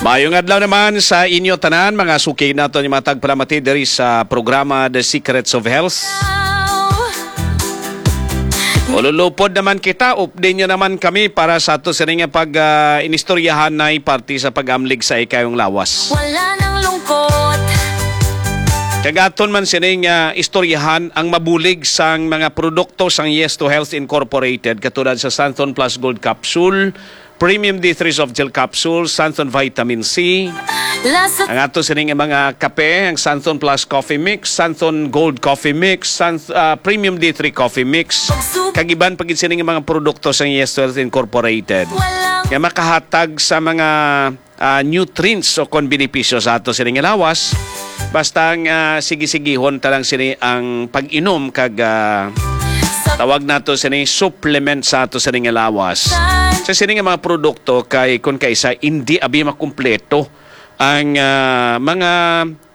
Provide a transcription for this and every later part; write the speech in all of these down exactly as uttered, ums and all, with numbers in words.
Ayong adlaw naman sa inyo tanan, mga suki naton, yung mga tagpalamati diri sa programa The Secrets of Health. Ululupod naman kita, update nyo naman kami para sa ato sini nga pag, ah, inistoryahan na parte sa pag-amlig sa ikayong lawas. Wala nang lungkot. Kagaton man sini nga istoryahan ang mabulig sang mga produkto sang Yes to Health Incorporated, katulad sa Santon Plus Gold Capsule, Premium D three Soft Gel Capsule, Santon Vitamin C, Lasa ang ato sining mga kape, ang Santon Plus Coffee Mix, Santon Gold Coffee Mix, San, ah, Premium D three Coffee Mix, Pagsubo. Kag iban pa gid sining mga produkto sa Yes Health Incorporated Walang nga makahatag sa mga, ah, nutrients o kon benepisyo sa ato sining lawas. Basta ang, ah, sige-sigihon ta lang sini ang pag-inom kag, ah, tawag nato sini supplement sa ato sini nga lawas. Sa sini nga mga produkto kay kun kaisa hindi abi makumpleto ang, ah, mga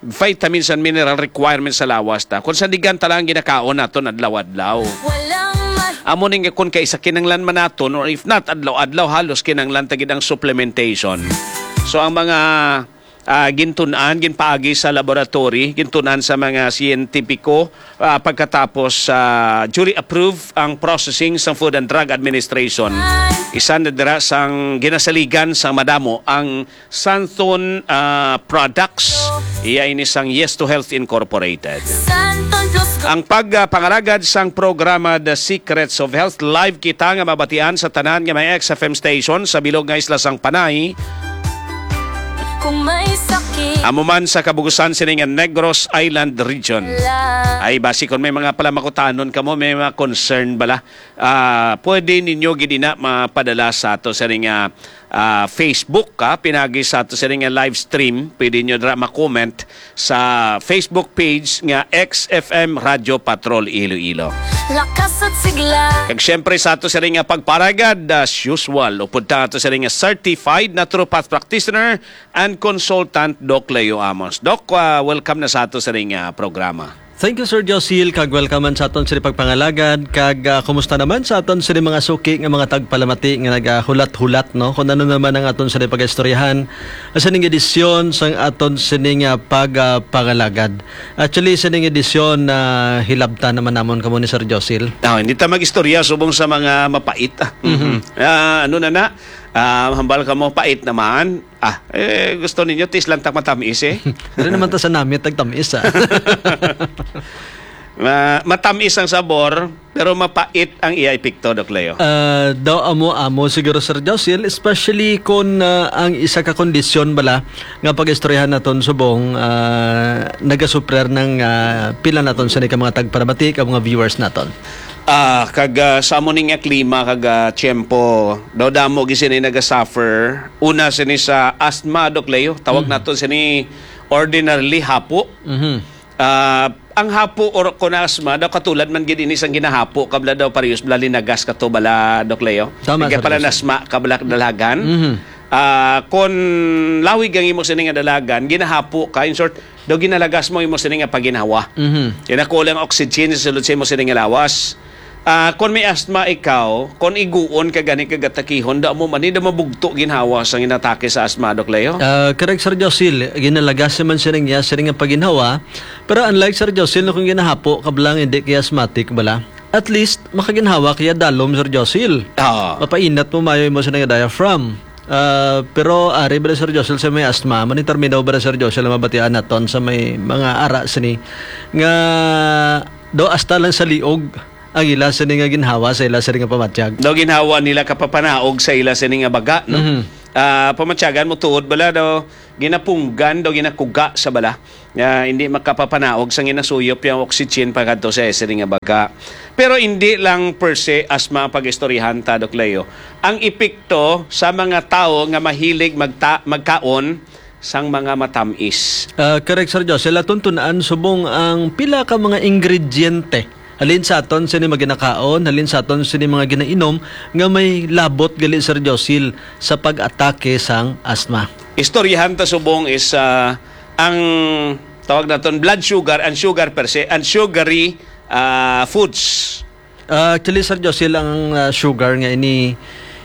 vitamins and mineral requirements sa lawas ta. Kung sa digan ta lang ginakaon naton adlaw-adlaw. Walang ma- Amo ning kun kaisa kinanglan man naton, or if not adlaw-adlaw, halos kinanglan ta gid ang supplementation. So ang mga, ah, gintun-an, ginpaagi sa laboratory, gintun-an sa mga siyentipiko, ah, pagkatapos, ah, jury approve ang processing sa Food and Drug Administration. Isa na dira sang ginasaligan sang madamo ang Santon, ah, products. Iya ini sang Yes to Health Incorporated. Santon Plus Ang pag, ah, pangalagad sang programa The Secrets of Health, live kita nga mabatian sa tanan nga may X F M station sa bilog nga isla sang Panay. Kung may sakit Amo man sa kabugusan sini nga Negros Island Region. Lang. Ay, basi kung may mga palamakutanon kamo, may mga concern bala, ah, pwede ninyo gid ina mapadala sa ato sini nga, ah, Facebook, ha, pinagi sa ato sini nga live stream. Pwede nyo dira ma-comment sa Facebook page nga X F M Radio Patrol Iloilo. Lakas at sigla. Kag syempre sa ato sini nga pagparagad, as usual, upod ta ato sini nga certified naturopath practitioner and consultant, Doc Leo Amos. Doc, ah, welcome na sa ato sini nga programa. Thank you, Sir Josil, kag welcome man sa aton sini pagpangalagad, kag, ah, kumusta naman sa aton sini mga suki nga mga tagpalamati nga nagahulat-hulat, no? Kung ano naman ang aton sini pag-istoryahan, sa ning edisyon sang aton sini nga pag, ah, pangalagad. Actually, sa ning edisyon na hilabtan naman namon kamo ni Sir Josil. Ah, hindi ta mag-istorya subong sa mga mapait, ah. Mhm. Ah, ano na na? Ah, hambal ka mo, pait naman. Ah, eh, gusto ninyo, tis lang tak matamis, eh. Dili naman ta sa namit, tagtamis, ah. Ma-, matamis ang sabor, pero mapait ang iya epekto, Doc Leo. Ah, daw amo-amo siguro, Sir Josil, especially kung, ah, ang isa ka kondisyon bala nga pag-istoryahan naton subong, ah, nagasuprer ng, ah, pila naton sa ka mga tagpalamati, ka mga viewers naton. Ah, kag, ah, sa amo ni nga klima kag, ah, tiyempo, daw damo gid sini nagasuffer. Una sini sa asthma, Doc Leo. Tawag Mhm. nato sini ordinarily hapo. Mhm. Ah, ang hapo or kon asthma daw katulad man gid ini sang ginahapo kabla daw parehas bala linagas kato bala, Doc Leo. Tama, Kaya Sir pala Jose. Nasma kabla dalagan. Mhm. Ah, kon lawig ang imo sini nga dalagan, ginahapo ka, in short, daw ginalagas mo imo sini nga paginhawa. Mhm. Kaya nakulang oxygen sa sulod sa imo sini nga lawas. Ah, kon may asthma ikaw, kon iguon ka gani kag atakihon, da mo man, da mabugto ginhawa sang inatake sa asthma, Doc Leo? Ah, correct, Sir Josil. Ginalagas man siya niya, siya nga paginhawa. Pero unlike, Sir Josil, no, kung ginahapo ka bala, hindi kay asthmatic bala. At least, makaginhawa kaya dalom, Sir Josil. Ah. Mapainat mo mayo mo sa nga diaphragm. Ah, pero ari ba, Sir Josil, sa may asthma, man termino ba, Sir Josil, ang mabatian naton sa may mga ara sini nga daw hasta lang sa liog ang ila sini nga ginhawa sa ila sini nga pamatyag. Daw ginhawa nila kapapanaog sa ila sini nga baga, no? Mhm. Ah, pamatyagan mo tuod bala daw ginapunggan, daw ginakuga sa bala. Nga hindi makapapanaog sa ginasuyop yung oxygen pagkadto sa sini nga baga. Pero hindi lang per se asthma ang pag-istoryahan ta, Doc Leo. Ang epekto sa mga tawo nga mahilig magta-, magkaon sang mga matamis. Ah, correct, Sir Josel. Aton tun-an subong ang pila ka mga ingrediente halin sa aton sini mga ginakaon, halin sa aton sini mga ginainom nga may labot gali, Sir Josil, sa pag-atake sang asthma. Istoryahan ta subong is, ah, ang tawag naton blood sugar, ang sugar per se, ang sugary, ah, foods. Ah, actually, Sir Josil, ang, ah, sugar nga ini,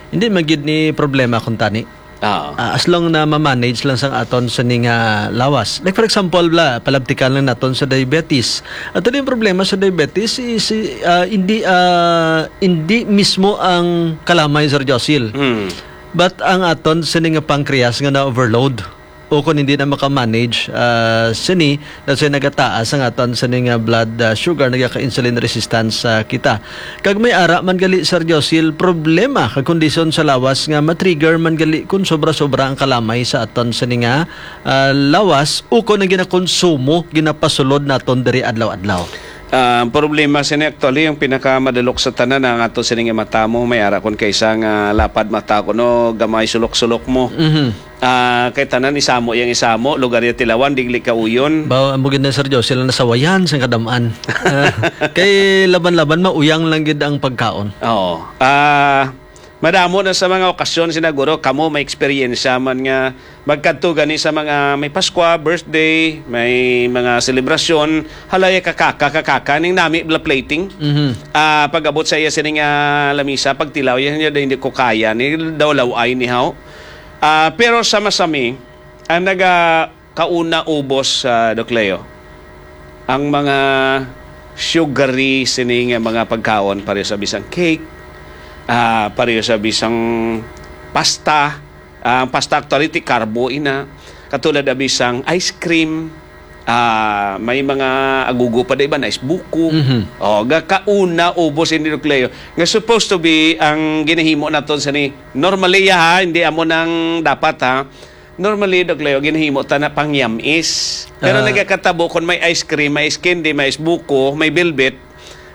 hindi man gid ni problema kung tani. Ah, as long na ma-manage lang sang aton sini nga lawas. Like, for example, bla, palabtikan lang naton sa diabetes. At yung problema sa diabetes is, ah, hindi, ah, hindi mismo ang kalamay, Sir Josil. Mm. But ang aton sini nga pancreas nga na-overload o kung hindi na maka-manage, ah, sini, that's why nagataas ang aton sini nga blood, ah, sugar, nagaka-insulin resistance, ah, kita. Kag may ara man gali, Sir Josil, problema kag kondisyon sa lawas nga ma-trigger man gali kung sobra-sobra ang kalamay sa aton sini nga, ah, lawas ukon ang ginakonsumo, ginapasulod naton diri adlaw-adlaw. Ah, ang problema sini actually, ang pinakamadalok sa tanan, ang ato sini nga mata mo, may ara kon kaisa nga lapad mata ko, no, gamay sulok-sulok mo. Mhm. Ah, kay tanan isamo yang isamo, lugar ya tilawan, digli ka uyon. Ba, amo gid na, Sir Josie, lang nasawayan sang kadam-an. Ah, kay laban-laban, mauyang lang gid ang pagkaon. Oo. Ah, madamo na sa mga okasyon, sinaguro, kamo may eksperyensya man nga magkadto gani sa mga may Paskwa, birthday, may mga selebrasyon, halaya kakaka, kakaka, ning nami bla plating. Mhm. Ah, pag-abot sa iya sining, ah, lamisa, pagtilaw, yan, yan, hindi ko kaya, ni daw law-ay ni haw. Ah, pero sa masami, ang naga kauna ubos, ah, Doc Leo, ang mga sugary sini nga mga pagkaon, pareho sa bisang cake, ah, pareho sa bisang pasta. Ah, ang pasta actually ti carbo ina, katulad na bisang ice cream, ah, may mga agugo pa da iban, ice buko. Mhm. Oh, ga kauna ubos ini, Doc Leo, nga supposed to be ang ginahimo naton sa ni normally, ha, hindi amo nang dapat, ha. Normally, Doc Leo, ginahimo ta na pangyamis. Pero Ah. nagakatabo kung may ice cream, may ice candy, may ice buko, may velvet,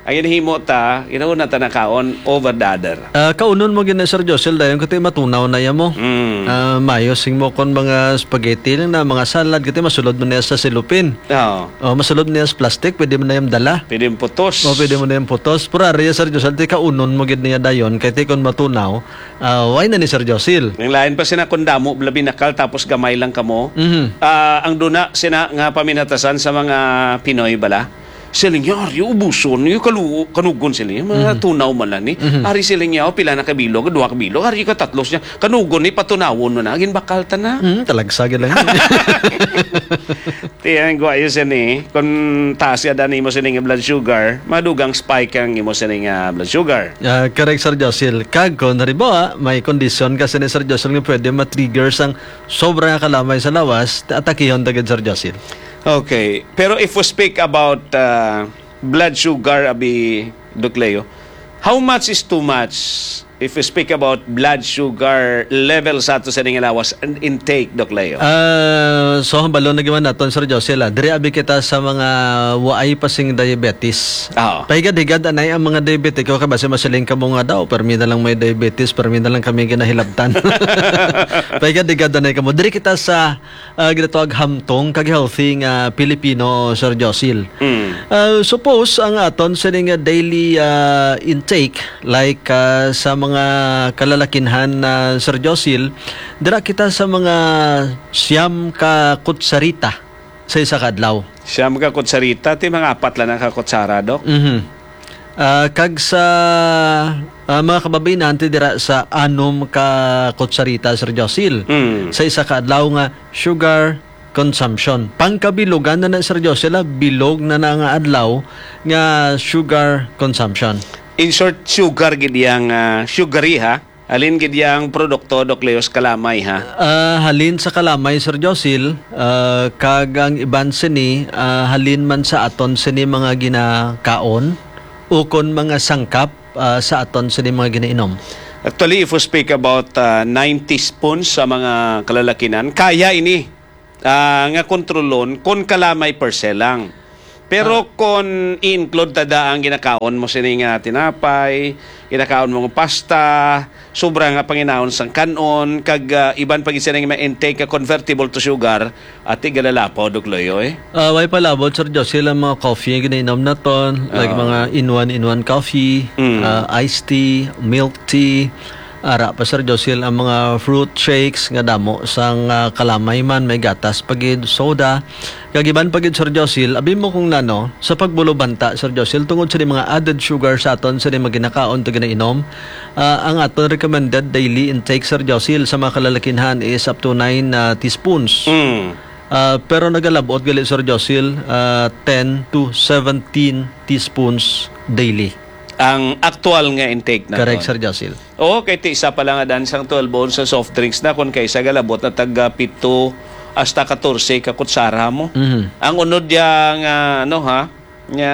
ang ginahimo ta, ginauna ta na kaon over the other. Ah, kaunon mo gina, Sir Josel, dayon kati matunaw na ya mo. Mm. Ah, mayo sing mo kon mga spaghetti lang na, mga salad, kati masulod mo niya sa silupin. Oo. O, masulod mo niya sa plastic, pwede mo na yung dala. Pwede yung putos. O, pwede mo na yung putos. Pero ari, Sir Josel, ti kaunon mo gid niya dayon, kay ti kon matunaw, ah, why na ni Sir Josil? Ang lain pa sina kung damo, labi nakal, tapos gamay lang kamo. Mhm. Ah, ang duna sina nga paminatasan sa mga Pinoy bala. Siling niya, "Ari, ubuson, yung kalu-, kanugon," siling niya, mga Mhm. tunaw man lang ni. Mhm. "Ari," siling niya, "o, pila na ka bilog, duha ka bilog, ari ka tatlo," siya, "kanugon ni, patunawon mo na, ginbakal ta na." Mhm, talagsa gid lang. Ti, ang guwayo siya ni, kung taas ya dan imo sining blood sugar, madugang spike ang imo sining, ah, blood sugar. Ah, correct, Sir Josil. Kag kung halimbawa, may kondisyon ka sini, Sir Josil, nga pwede ma-trigger sang sobra nga kalamay sa lawas, ta-, atakihon ta gid, Sir Josil. Okay. Pero if we speak about, ah, blood sugar, abi, Doc Leo, how much is too much if we speak about blood sugar level sa ato sa ning lawas and intake, Doc Leo? Ah, so, hambalon na giman naton, Sir Josel, ah. Diri abi kita sa mga waay pa sing diabetes. Oo. Pahigad-higad anay ang mga diabetiko, kay basi masiling kamo nga daw, "Permi na lang may diabetes, permi na lang kami ginahilabtan." Pahigad-higad anay kamo. Diri kita sa ah, ginatawag hamtong kag healthy nga Pilipino, Sir Josil. Mm. Ah, suppose ang aton sini nga daily, ah, intake, like, ah, sa mga kalalakinhan na, Sir Josil, dira kita sa mga siyam ka kutsarita sa isa ka adlaw. Siyam ka kutsarita, ti mga apat lang na ka kutsara, Doc? Mhm. Ah, kag sa, ah, mga kababain-an, ti dira sa anom ka kutsarita, Sir Josil, Mm. sa isa ka adlaw nga sugar consumption. Pangkabilogan na na, Sir Josil, ah, bilog na na nga adlaw nga sugar consumption. In short, sugar gid yang, ah, sugary, ha? Halin gid yang produkto, Doc Leos, kalamay, ha? Ah, halin sa kalamay, Sir Josil, ah, kag ang iban sini, ah, halin man sa aton sini mga ginakaon, ukon mga sangkap, ah, sa aton sini mga ginainom. Actually, if we speak about, ah, nine teaspoons sa mga kalalakinan, kaya ini, ah, nga kontrolon kon kalamay per se lang. Pero Ah. kon i-include ta da ang ginakaon mo sini nga tinapay, ginakaon mo nga pasta, sobra nga panginahon sang kan-on, kag, ah, iban pa gid sini nga mga intake nga convertible to sugar, ati galalapaw, Doc Loyo, eh. Ah, way palabot, Sir Josie, ang mga coffee nga ginainom naton, like Ah. mga in one, in one coffee, Mm. ah, iced tea, milk tea, Ara pa, Sir Josil, ang mga fruit shakes nga damo sang, ah, kalamay man, may gatas pa gid, soda. Kag iban pa gid, Sir Josil, abi mo kung nano, sa pagbulobanta, Sir Josil, tungod sa mga added sugar sa aton sa mga ginakaon to ginainom, ah, ang aton recommended daily intake, Sir Josil, sa mga kalalakinhan is up to nine, ah, teaspoons. Mm. Ah, pero nagalabot gali, Sir Josil, ah, ten to seventeen teaspoons daily. Ang aktual nga intake na Correct, ton. Sir Josil. Oo, kay ti isa pa lang nga daan sang twelve ounce sa soft drinks na, kung kaisa galabot na tag, ah, pito hasta katorse ka kutsara mo. Mhm. Ang unod ya nga, ano, ha, nga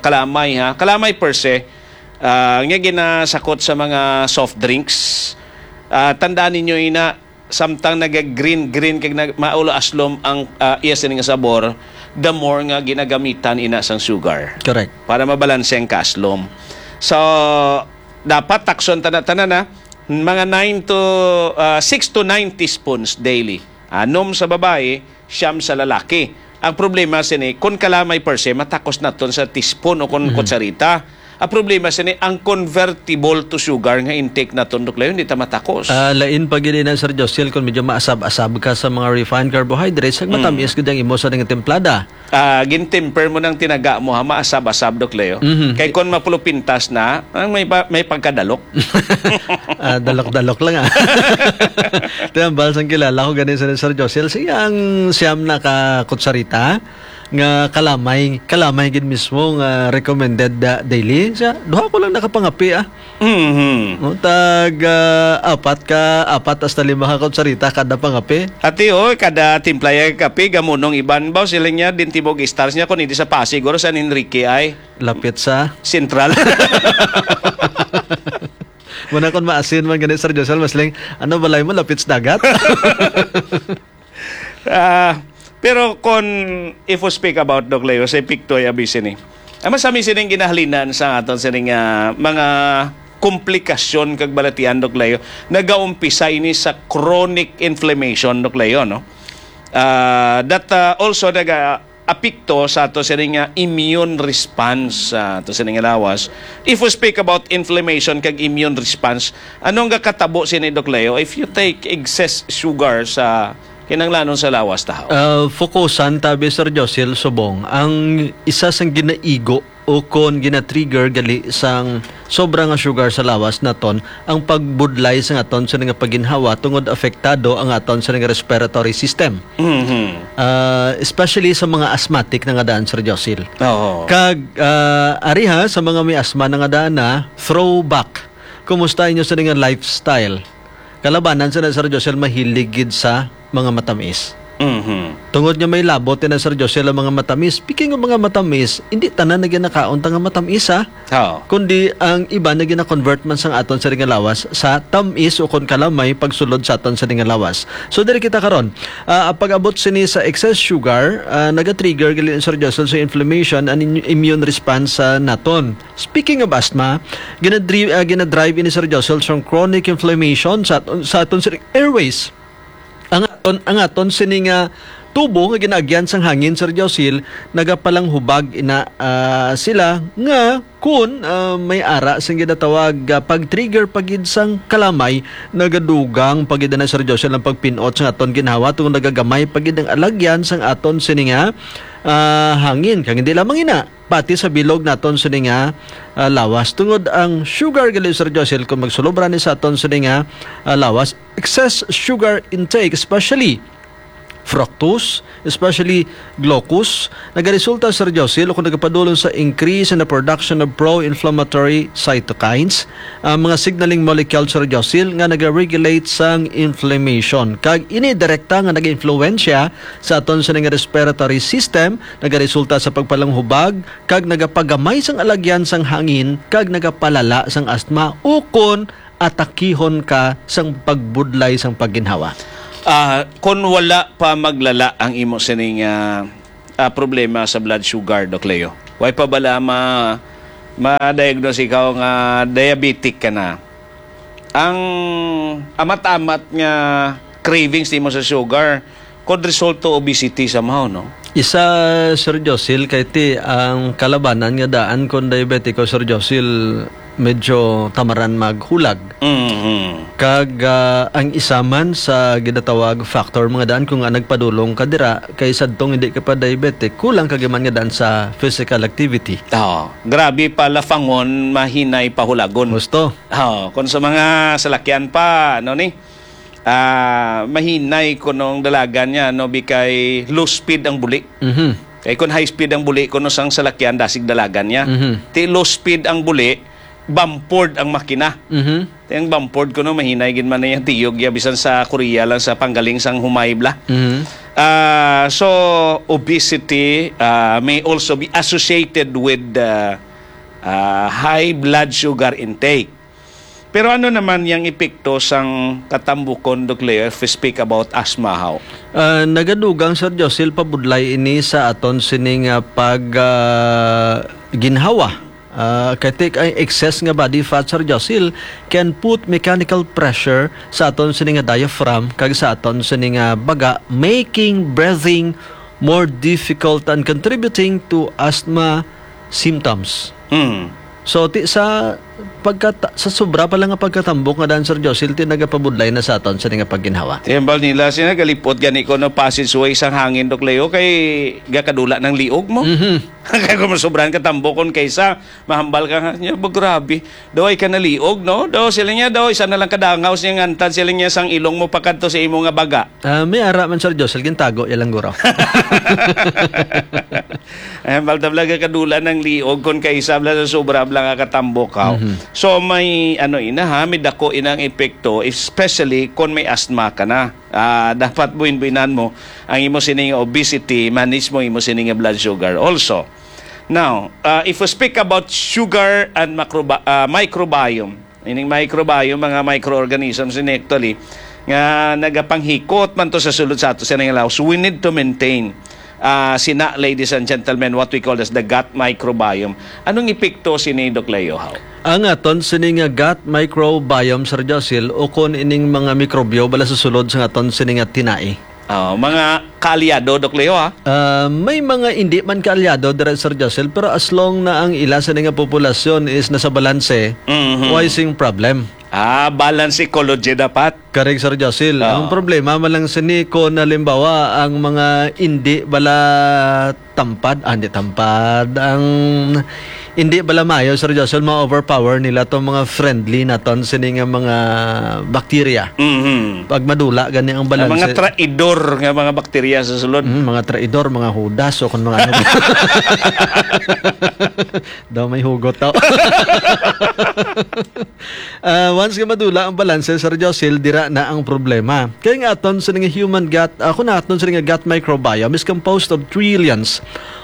kalamay, ha? Kalamay per se, ah, nga ginasakot sa mga soft drinks. Ah, tandaan ninyo ina, samtang naga-green-green kag nag-, maulo aslom ang, ah, iya sini nga sabor, the more nga ginagamitan ina sang sugar. Correct. Para mabalanse ang kaaslom. So, dapat takson tanan-tanan na mga nine to, ah, six to nine teaspoons daily. Anom sa babayi, siyam sa lalaki. Ang problema sini, kung kalamay per se, matakos naton sa teaspoon o kung Mhm. kutsarita. Ang problema sini, ang convertible to sugar nga intake naton, Doc Leo, hindi ta matakos. Ah, lain pa gid na, Sir Josel, kung medyo maasab-asab ka sa mga refined carbohydrates, ang Mhm. matamis gid ang imo sa nga timplada. Ah, gintemper mo ng tinaga mo, ha, maasab-asab, Doc Leo. Mhm. Kay kung mapulupintas na, ang may pa-, may pagkadalok. Ah, dalok-dalok lang, ah. Ito ang balsang kilala ko, gani sa Sir Josel. Siya ang siyam na ka kutsarita nga kalamay, kalamay gid mismo nga recommended, ah, daily. Siya, duha ko lang nakapangapi, ah. Mhm. O, tag, ah, apat ka, apat hasta lima ka kutsarita kada pangape. Ati, oy, kada timpla ya kape, gamunong iban ba? Sila niya, din Timog Stars niya, kung hindi sa Pasig, siguro San Enrique ay Lapit sa? Central. Muna kung maasin man gani, Sir Josel, mas ling, ano balay mo, lapit sa dagat? Ah, pero kon if we speak about, Doc Leo, sa epekto ay abisi ni. Ang masami sining ginahalinan sa aton sining, ah, mga komplikasyon kag balatian, Doc Leo, nagaumpisa ini sa chronic inflammation, Doc Leo, no? Ah, that, ah, also naga-apekto sa ato sining, ah, immune response sa ato sining lawas. If we speak about inflammation kag immune response, ano ang gakatabo sini, Doc Leo, if you take excess sugar sa kinahanglanon sa lawas tahaw? Ah, fokusan tabi, Sir Josil, subong ang isa sang ginaigo o kon gina-trigger gali sang sobra nga sugar sa lawas naton ang pagbudlay sa aton sa nga paginhawa tungod apektado ang aton sa nga respiratory system. Mhm. Ah, especially sa mga asthmatic na nga daan, Sir Josil. Oo. Kag, ah, ariha sa mga may asma na nga daan na, throwback. Kumusta inyo sa nga lifestyle? Kalabanan sa na, Sir Josel, mahilig gid sa mga matamis. Mhm. Tungod nga may labot na, Sir Josel, ang mga matamis. Speaking of mga matamis, hindi tanan na ginakaon ta nga matamis, ha? Oo. Kundi ang iba na gina-convert man sang aton sa nga lawas sa tamis o kon kalamay pagsulod sa aton sa nga lawas. So, diri kita karon. Ah, ang pag-abot sini sa excess sugar, ah, naga-trigger gali, Sir Josel, sa inflammation and in-, immune response sa naton. Speaking of asthma, ginadri-, ah, ginadrive ini, Sir Josel, sang chronic inflammation sa aton, sa aton sir-, airways. Ang aton, ang aton sini nga tubo nga ginaagyan sang hangin, Sir Josel, nagapalanghubag ina, ah, sila nga kun, ah, may ara sing ginatawag, ah, pag-trigger pa gid sang kalamay, nagadugang pa gid na, Sir Josel, ang pagpinot sa aton ginhawa tungod nagagamay pa gid ang alagyan sang aton sini nga, ah, hangin. Kag hindi lamang ina, pati sa bilog naton sini nga, ah, lawas. Tungod ang sugar gali, Sir Josel, kung magsulobra ni sa aton sini nga, ah, lawas, excess sugar intake, especially fructose, especially glucose, nagaresulta, Sir Josel, o kung nagapadulong sa increase in the production of pro-inflammatory cytokines, ang mga signaling molecule, Sir Josel, nga nagaregulate sang inflammation. Kag ini direkta nga nagainfluensya sa aton sini nga respiratory system, nagaresulta sa pagpalanghubag kag nagapagamay sang alagyan sang hangin kag nagapalala sang asthma ukon atakihon ka sang pagbudlay sang pagginhawa. Ah, kon wala pa maglala ang imo sining, ah, ah, problema sa blood sugar, Doc Leo, way pa bala ma-, ma-diagnose ikaw nga diabetic ka na? Ang amat-amat nga cravings nimo sa sugar, could result to obesity somehow, no? Isa, Sir Josil, kay ti ang kalabanan nga daan kon diabetiko, Sir Josil, medyo tamaran maghulag. Mhm. Kag, ah, ang isa man sa ginatawag factor, mga daan, kung, ah, nagpadulong ka dira, kay sadtong hindi ka pa diabetic, kulang ka gyud man nga daan sa physical activity. Oo. Grabe pa lafangon, mahinay pahulagon. Husto. Oo. Kung sa mga salakyan pa, ano ni? Ah, mahinay kunong dalagan niya, no, bikay low speed ang buli. Mhm. Kay kung high speed ang buli, kuno sang salakyan, dasig dalagan niya. Mhm. Ti low speed ang buli, bumpered ang makina. Mhm. Ti ang bumpered kuno, mahinay gid man na yung tiyog ya, bisan sa Korea lang, sa panggaling sang humay bla. Mhm. Ah, so, obesity, ah, may also be associated with, ah, ah, high blood sugar intake. Pero ano naman yang epekto sang katambukon, Doc Leo, if we speak about asthma, how? Ah, nagadugang, Sir Josil, pabudlay ini sa aton sini nga pag, ah, ginhawa. Ah, kay ti-, ang excess nga body fat, Sir Josil, can put mechanical pressure sa aton sini nga diaphragm kag sa aton sini nga baga, making breathing more difficult and contributing to asthma symptoms. Mm. So, ti, sa pagkata-, sa sobra pa lang nga pagkatambok nga daan, Sir Josil, ti nagapabudlay na sa aton sini nga pagginhawa. Ti hambal nila, sina galipot gani ko no passageway sang hangin, Doc Leo, kay gakadula ng liog mo. Mhm. Kay kung masobran ka tambokon kaysa, mahambal ka nga, "Nya ba, grabe. Daw ay ka naliog, no?" Daw sila niya, daw isa na lang kadangaw siya ngantad sila niya sang ilong mo pakadto sa imo nga baga. Ah, may ara man, Sir Josil, gintago ya lang guro. Ay, hambal tabla ka kadula ng liog kon kaisa bla sa sobra bla nga katambok, haw. Mhm. So, may ano ina, ha, may dako inang epekto, especially kon may asthma ka na. Ah, dapat buin-buinan mo ang imo sining obesity, manage mo imo sining blood sugar also. Now, ah, if we speak about sugar and macrobi-, ah, microbiome, ining microbiome, mga microorganisms ini actually, nga nagapanghikot man to sa sulod sa ato sa nangalaw. So we need to maintain, ah, sina, ladies and gentlemen, what we call as the gut microbiome. Anong epekto sini, Doc Leo, haw? Ang aton sini nga gut microbiome, Sir Josil, ukon ining mga mikrobyo bala sa sulod sa aton sini nga tinai. Oh, mga kaalyado, Doc Leo, ha? Ah, may mga hindi man kaalyado dira, Sir Josil, pero as long na ang ila sini nga populasyon is nasa balanse, Mhm. why sing problem? Ah, balance ecology dapat. Correct, Sir Josil. Oo. Ang problema man lang sini kung halimbawa ang mga hindi bala tampad, ah, hindi tampad, ang hindi bala maayo, Sir Josil, ma-overpower nila tong mga friendly naton sini nga mga bakterya. Mhm. Pag madula gani ang Ang mga balanse. traidor nga mga bakterya sa sulod. Mm, mga traidor, mga hudas, o kung mga ano. Daw may hugot daw. Ah, once nga madula ang balanse, Sir Josil, dira na ang problema. Kaya nga aton sa nga human gut, ah, kung aton sa nga gut microbiome is composed of trillions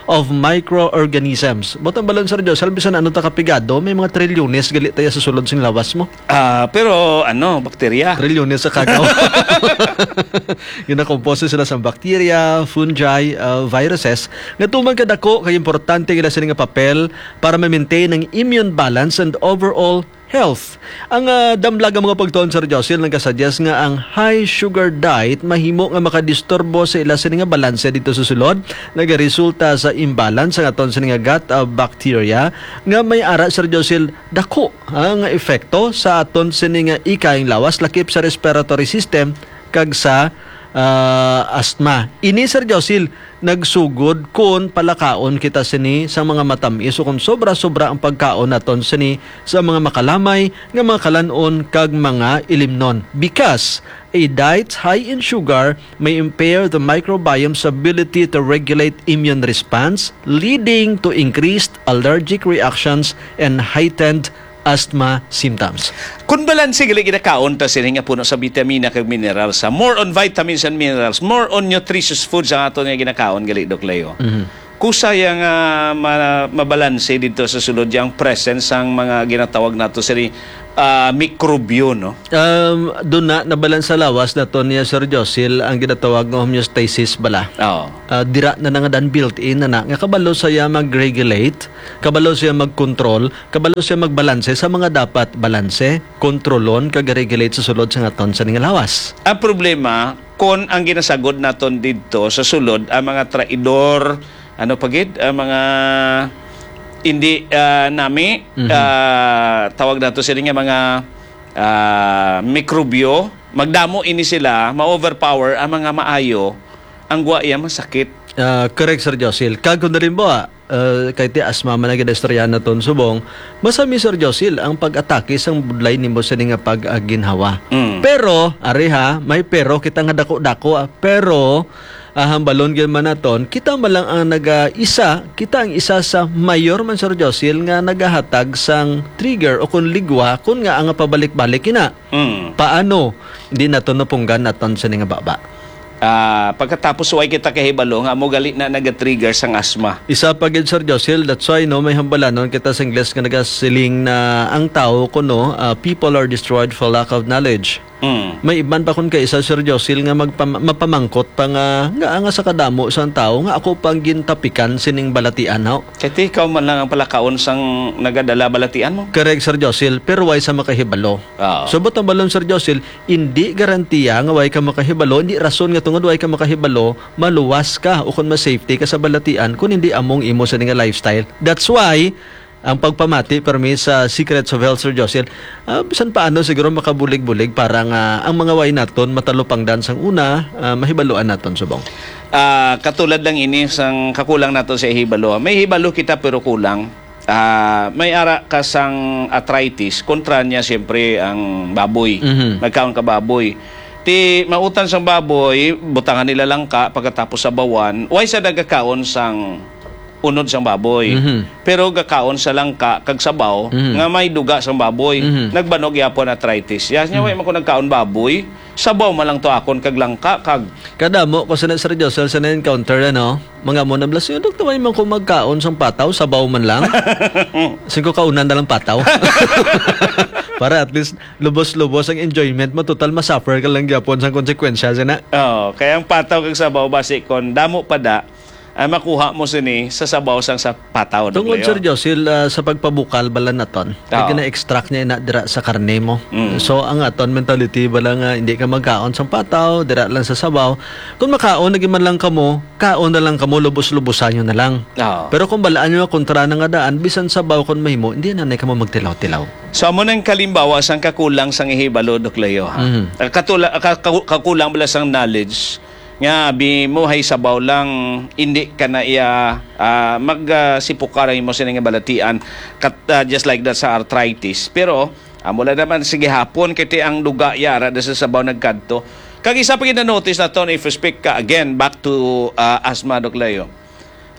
of microorganisms. But ang balon, Sir Josil, bisan ano ta kapigado, may mga trilyones gali tayo sa sulod sing lawas mo. Ah, pero ano, bakterya? Trilyones sa kagaw. Ginakomposto sila sa bacteria, fungi, ah, viruses, nga tuman kadako kay importante gila sila nga papel para ma-maintain ang immune balance and overall health. Ang, ah, damlag nga mga pagtuon, Sir Josil, nagkasuggest nga ang high sugar diet mahimo nga makadisturbo sa ila sini nga balanse dito sa sulod, nagaresulta sa imbalance ang aton sini nga gut, ah, bacteria nga may ara, Sir Josil, dako, ah, nga epekto sa aton sini nga ikayang lawas, lakip sa respiratory system kag sa, ah, asthma. Ini, Sir Josil, nagsugod kon palakaon kita sini sa mga matamis o kon sobra-sobra ang pagkaon naton sini sa mga makalamay nga mga kalan-on kag mga ilimnon. Because a diet high in sugar may impair the microbiome's ability to regulate immune response, leading to increased allergic reactions and heightened asthma symptoms. Kung balanse gali ginakaon ta sini nga puno sa bitamina kag minerals, sa more on vitamins and minerals, more on nutritious foods ang aton nga ginakaon gali, Doc Leo. Mhm. Kusaya nga ma-, mabalanse dito sa sulod yang presence sang mga ginatawag nato sini, ah, mikrobyo, no? Um, doon na nabalansa lawas nato niya, Sir Josil, ang ginatawag nga homeostasis bala. Oo. Ah, dira na na nga dan built-in na na. Nga kabalo saya mag-regulate, kabalo siya mag-control, kabalo siya magbalanse sa mga dapat balanse, kontrolon, kag regulate sa sulod sa aton sini nga lawas. Ang problema, kon ang ginasagod naton didto sa sulod, ang mga traidor, ano pa gid, ang mga Hindi, ah, nami, Mhm. ah, tawag nato sila nga mga, ah, mikrobyo, magdamo ini sila, ma-overpower ang mga maayo, ang gwa iya masakit. Ah, correct, Sir Josil. Kag kung halimbawa, ah, kay ti asma man ang ginaistoryahan naton subong, masami, Sir Josil, ang pag-atake sang budlay nimo sini nga pag-, ah, ginhawa. Mm. Pero, ari ha, may pero kita nga dako-dako, ah, pero, ah, hambalon gyud man naton, kita man lang ang naga-isa, kita ang isa sa mayor man, Sir Josil, nga nagahatag sang trigger o kung ligwa, kung nga ang pabalik-balik ina. Mm. Paano? Di nato napunggan naton sini nga baba. Ah, pagkatapos, way kita kahibalo nga amo gali na naga-trigger sang asma. Isa pa gid, Sir Josil, that's why, no, may hambalanon kita sa Ingles nga nagasiling na ang tawo kuno, ah, people are destroyed for lack of knowledge. Mm. May iban pa kun kaisa, Sir Josil, nga magpam-, mapamangkot pa nga, nga, nga sa kadamo sang tawo nga ako pang gintapikan sining balatian, ho. Kay ti ikaw man lang ang palakaon sang nagadala balatian mo. Correct, Sir Josil, pero way sa makahibalo. Oo. So, but ang balon, Sir Josil, indi garantiya nga way ka makahibalo, indi rason nga tungod way ka makahibalo, maluwas ka o kung ma-safety ka sa balatian kung hindi among imo sa nga lifestyle. That's why, ang pagpamati permi sa Secrets of Health, Sir Josil, ah, bisan paano siguro makabulig-bulig para nga ang mga way naton matalupangdan sang una, ah, mahibaluan naton subong. Ah, katulad lang ini sang kakulang naton sa hibalo. May hibalo kita pero kulang. Ah, may ara ka sang arthritis, kontra niya siyempre ang baboy. Mhm. Nagkaon ka baboy. Ti mautan sang baboy, butangan nila langka, pagkatapos sabawan, way sa nagakaon sang unod sang baboy. Mhm. Pero gakaon sa langka kag sabaw Mhm. nga may duga sang baboy. Mhm. Nagbanog yapon arthritis. Yes, nya way Mhm. man ko nagkaon baboy, sabaw man lang to akon kag langka kag Kadamo ko sa na, Sir Josel, sa na-encounter, ano? Mga mo na blas, "Dok, way man ko magkaon sang pataw, sabaw man lang." Sing ko kaunan na lang pataw. Para at least lubos-lubos ang enjoyment mo. Total, masuffer ka lang gyapon sang konsekwensya, sina. Oo, kaya ang pataw kag sabaw, basi kon damo pa da, ay makuha mo sini sa sabaw sang sa pataw, Tungod, Doc Leo. Sir Josil, ah, sa pagpabukal bala naton, Oo. Kay gina-extract niya ina dira sa karne mo. Mm. So, ang aton mentality bala nga hindi ka magkaon sang pataw, dira lang sa sabaw. Kung makaon lagi man lang kamo, kaon na lang kamo, lubos-lubosan nyo na lang. Oo. Pero kung balaan nyo nga kontra na nga daan, bisan sabaw kon mahimo, hindi na na kamo magtilaw-tilaw. So, amo nang kalimbawa sang kakulang sang ihibalo, Doc Leo, ha? Mhm. Ah, katula-, ka-, ka-, kakulang bala sang knowledge, nga abi mo hay sabaw lang, indi ka na iya, ah, mag, ah, sipukar ang imo sini nga balatian, kat-, ah, just like that sa arthritis. Pero amo lang naman, sige hapon, kay ti ang duga yara na sa sabaw nagkadto. Kag isa pa gid na-notice naton, if you speak ka again back to, ah, asthma, Doc Leo.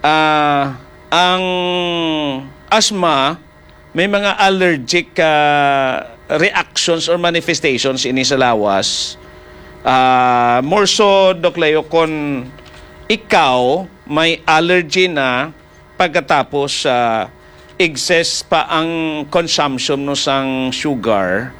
Ah, ang asthma, may mga allergic, ah, reactions or manifestations ini sa lawas. Ah, more so, Doc Leo, kon ikaw may allergy na pagkatapos, ah, excess pa ang consumption mo sang sugar,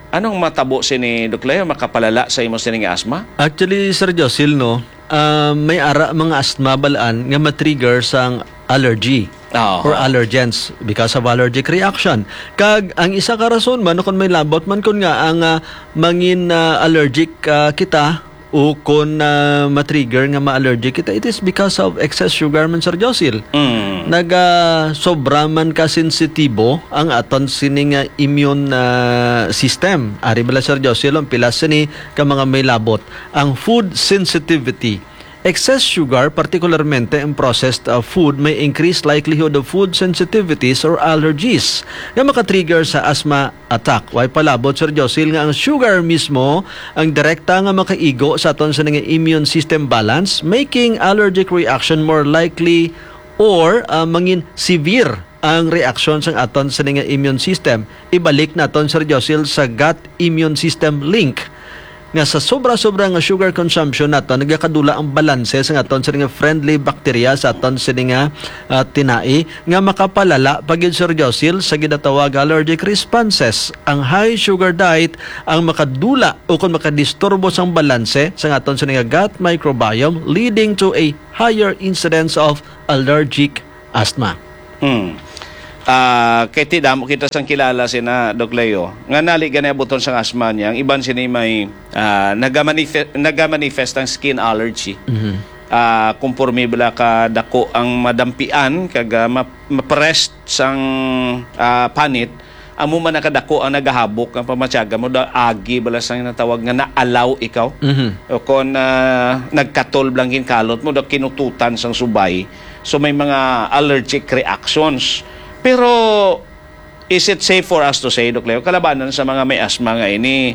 anong matabo sini, Doc Leo? Makapalala sa imo sining asthma? Actually, Sir Josil, no, ah, may ara mga asthma balaan nga matrigger sang allergy Oo. or allergens because of allergic reaction. Kag ang isa ka rason man, kung may labot man, kun nga ang, ah, mangin, ah, allergic, ah, kita o kun, ah, matrigger nga ma-allergic kita, it is because of excess sugar man, Sir Josil. Mm. Naga sobra man ka sensitibo ang aton sining, ah, immune, ah, system. Ari bala, Sir Josil, ang pila sini ka mga may labot. Ang food sensitivity. Excess sugar, particularmente ang processed, uh, food, may increased likelihood of food sensitivities or allergies nga makatrigger sa asthma attack. Way palabot, Sir Josil, nga ang sugar mismo ang direkta nga makaigo sa aton sa nga immune system balance, making allergic reaction more likely or, uh, mangin severe ang reaksyon sang aton sini nga immune system. Ibalik naton, Sir Josil, sa gut immune system link nga sa sobra-sobra nga sugar consumption naton, nagakadula ang balanse sa aton sini nga friendly bacteria sa aton sini nga, ah, tinai nga makapalala pa gyud, Sir Josil, sa ginatawag allergic responses. Ang high sugar diet ang makadula o kung makadisturbo sang balanse sa aton sini nga gut microbiome, leading to a higher incidence of allergic asthma. Hmm. Ah, kay ti damo kita sang kilala sina, Doc Leo, nga nali gani abuton sang asthma niya. Ang iban sini may, ah, nagamanife-, nagamanifest ang skin allergy. Mhm. ah, konforme bala ka dako ang madampian kag, ah, ma-, ma-pressed sang, ah, panit, amo man nakadako ang nagahabok nga pamatyagan mo da agi bala sang natawag nga naalaw ikaw. Mhm. O kon, ah, nagkatol bala ang ginkalot mo da kinututan sang subay. So may mga allergic reactions. Pero is it safe for us to say, Doc Leo, kalabanan sa mga may asma nga ini,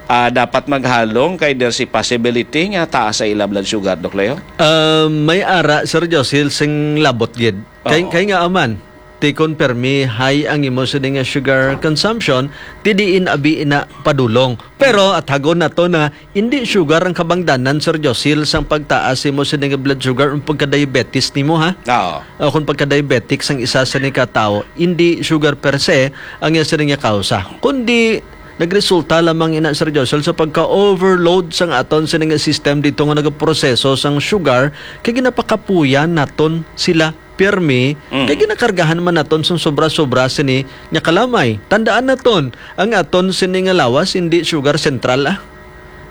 ah, dapat maghalong kay there's a possibility nga taas sa ila blood sugar, Doc Leo? Ah, may ara, Sir Josil, sing labot gid. Kay, Oo. kay nga aman, ti kon permi high ang imo sini nga sugar consumption, ti diin abi ina padulong. Pero athagon nato na indi sugar ang kabangdanan, Sir Josil, sang pagtaas imo sini nga blood sugar o pagka-diabetes nimo, ha? Oo. O kung pagka-diabetic sang isa sini ka tawo, indi sugar per se ang iya sini nga kausa, kundi nagresulta lamang ina, Sir Josil, sa pagka-overload sang aton sini nga system dito nga nagaproseso sang sugar, kay ginapakapuyan naton sila pirmi, Mm. kay ginakargahan man naton sang sobra-sobra sini nga kalamay. Tandaan naton, ang aton sini nga lawas hindi sugar central, ah,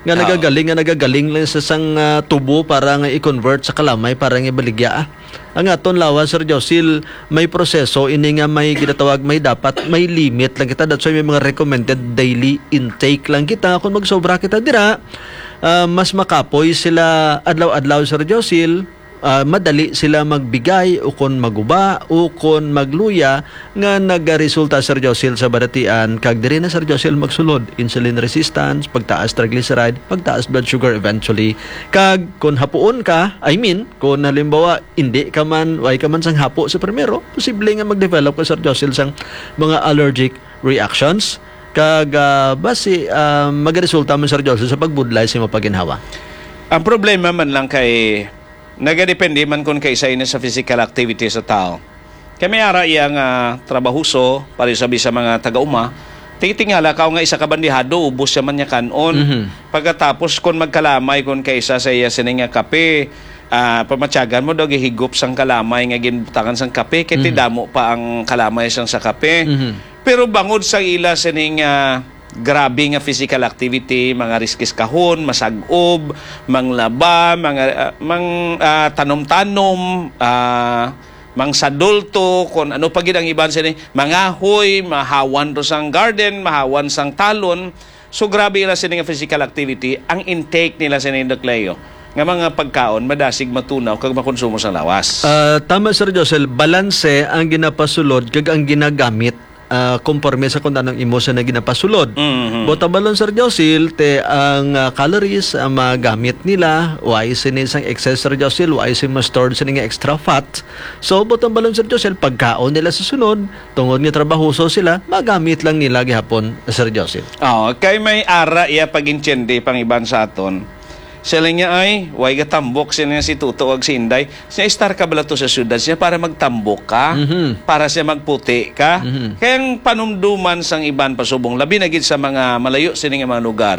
nga Oo. nagagaling, nga nagagaling lang sa sang, ah, tubo para nga i-convert sa kalamay para nga ibaligya, ah. Ang aton lawas, Sir Josil, may proseso ini nga may ginatawag, may dapat, may limit lang kita. That's why may mga recommended daily intake lang kita. Kung magsobra kita dira, ah, mas makapoy sila adlaw-adlaw, Sir Josil. Ah, madali sila magbigay o kon maguba o kon magluya nga nagaresulta, Sir Josil, sa balatian, kag diri na, Sir Josil, magsulod insulin resistance, pagtaas triglyceride, pagtaas blood sugar eventually. Kag kon hapuon ka, I mean, kon halimbawa, hindi ka man, way ka man sang hapo sa primero, posible nga mag-develop ka, Sir Josil, sang mga allergic reactions. Kag, ah, basi, ah, magaresulta man, Sir Josil, sa pagbudlay sa imong paginhawa. Ang problema man lang kay nagadepende man kon kaisa ini sa physical activity sa tao. Kay may ara iya nga trabahoso, pareho sa bisan mga taga-uma, tingtingala ka nga isa ka bandihado, ubos siya man niya kan-on. Mhm. Pagkatapos, kon magkalamay, kon kaisa sa iya sini nga kape, ah, pamatyagan mo daw gihigop sang kalamay nga ginbutangan sang kape, kay Mhm. tidamo pa ang kalamay sang sa kape. Mhm. Pero bangod sa ila sining, ah, grabe nga physical activity, mga riskis kahon, masag-ob, manglaba, mga, ah, mang, ah, tanom-tanom, ah, mangsadulto, kung ano pa gid ang iban sini, mangahoy, mahawan to sang garden, mahawan sang talon. So, grabe ila sini nga physical activity, ang intake nila sini, Doc Leo, nga mga pagkaon, madasig matunaw kag makonsumo sang lawas. Ah, tama, Sir Josel, balanse ang ginapasulod kag ang ginagamit, ah, konforme sa kung anong imo sa na ginapasulod. Mhm. Buot ang balon, Sir Josil, te ang, ah, calories ang magamit nila, why sini sang excess, Sir Josil, why sini ma-stored sini nga extra fat. So, buot ang balon, Sir Josil, pagkaon nila sa sunod, tungod nga trabahoso sila, magamit lang nila gihapon, Sir Josil. Oh, kay may ara iya pag-intindi pang iban sa aton. Sila niya ay, way gatambok sila niya si Tuto ag si Inday. Siya, "Istar ka bala to sa syudad siya para magtambok ka, Mhm. para siya magputi ka." Mhm. Kaya ang panumduman sang iban pasubong, labi na gid sa mga malayo sini nga mga lugar.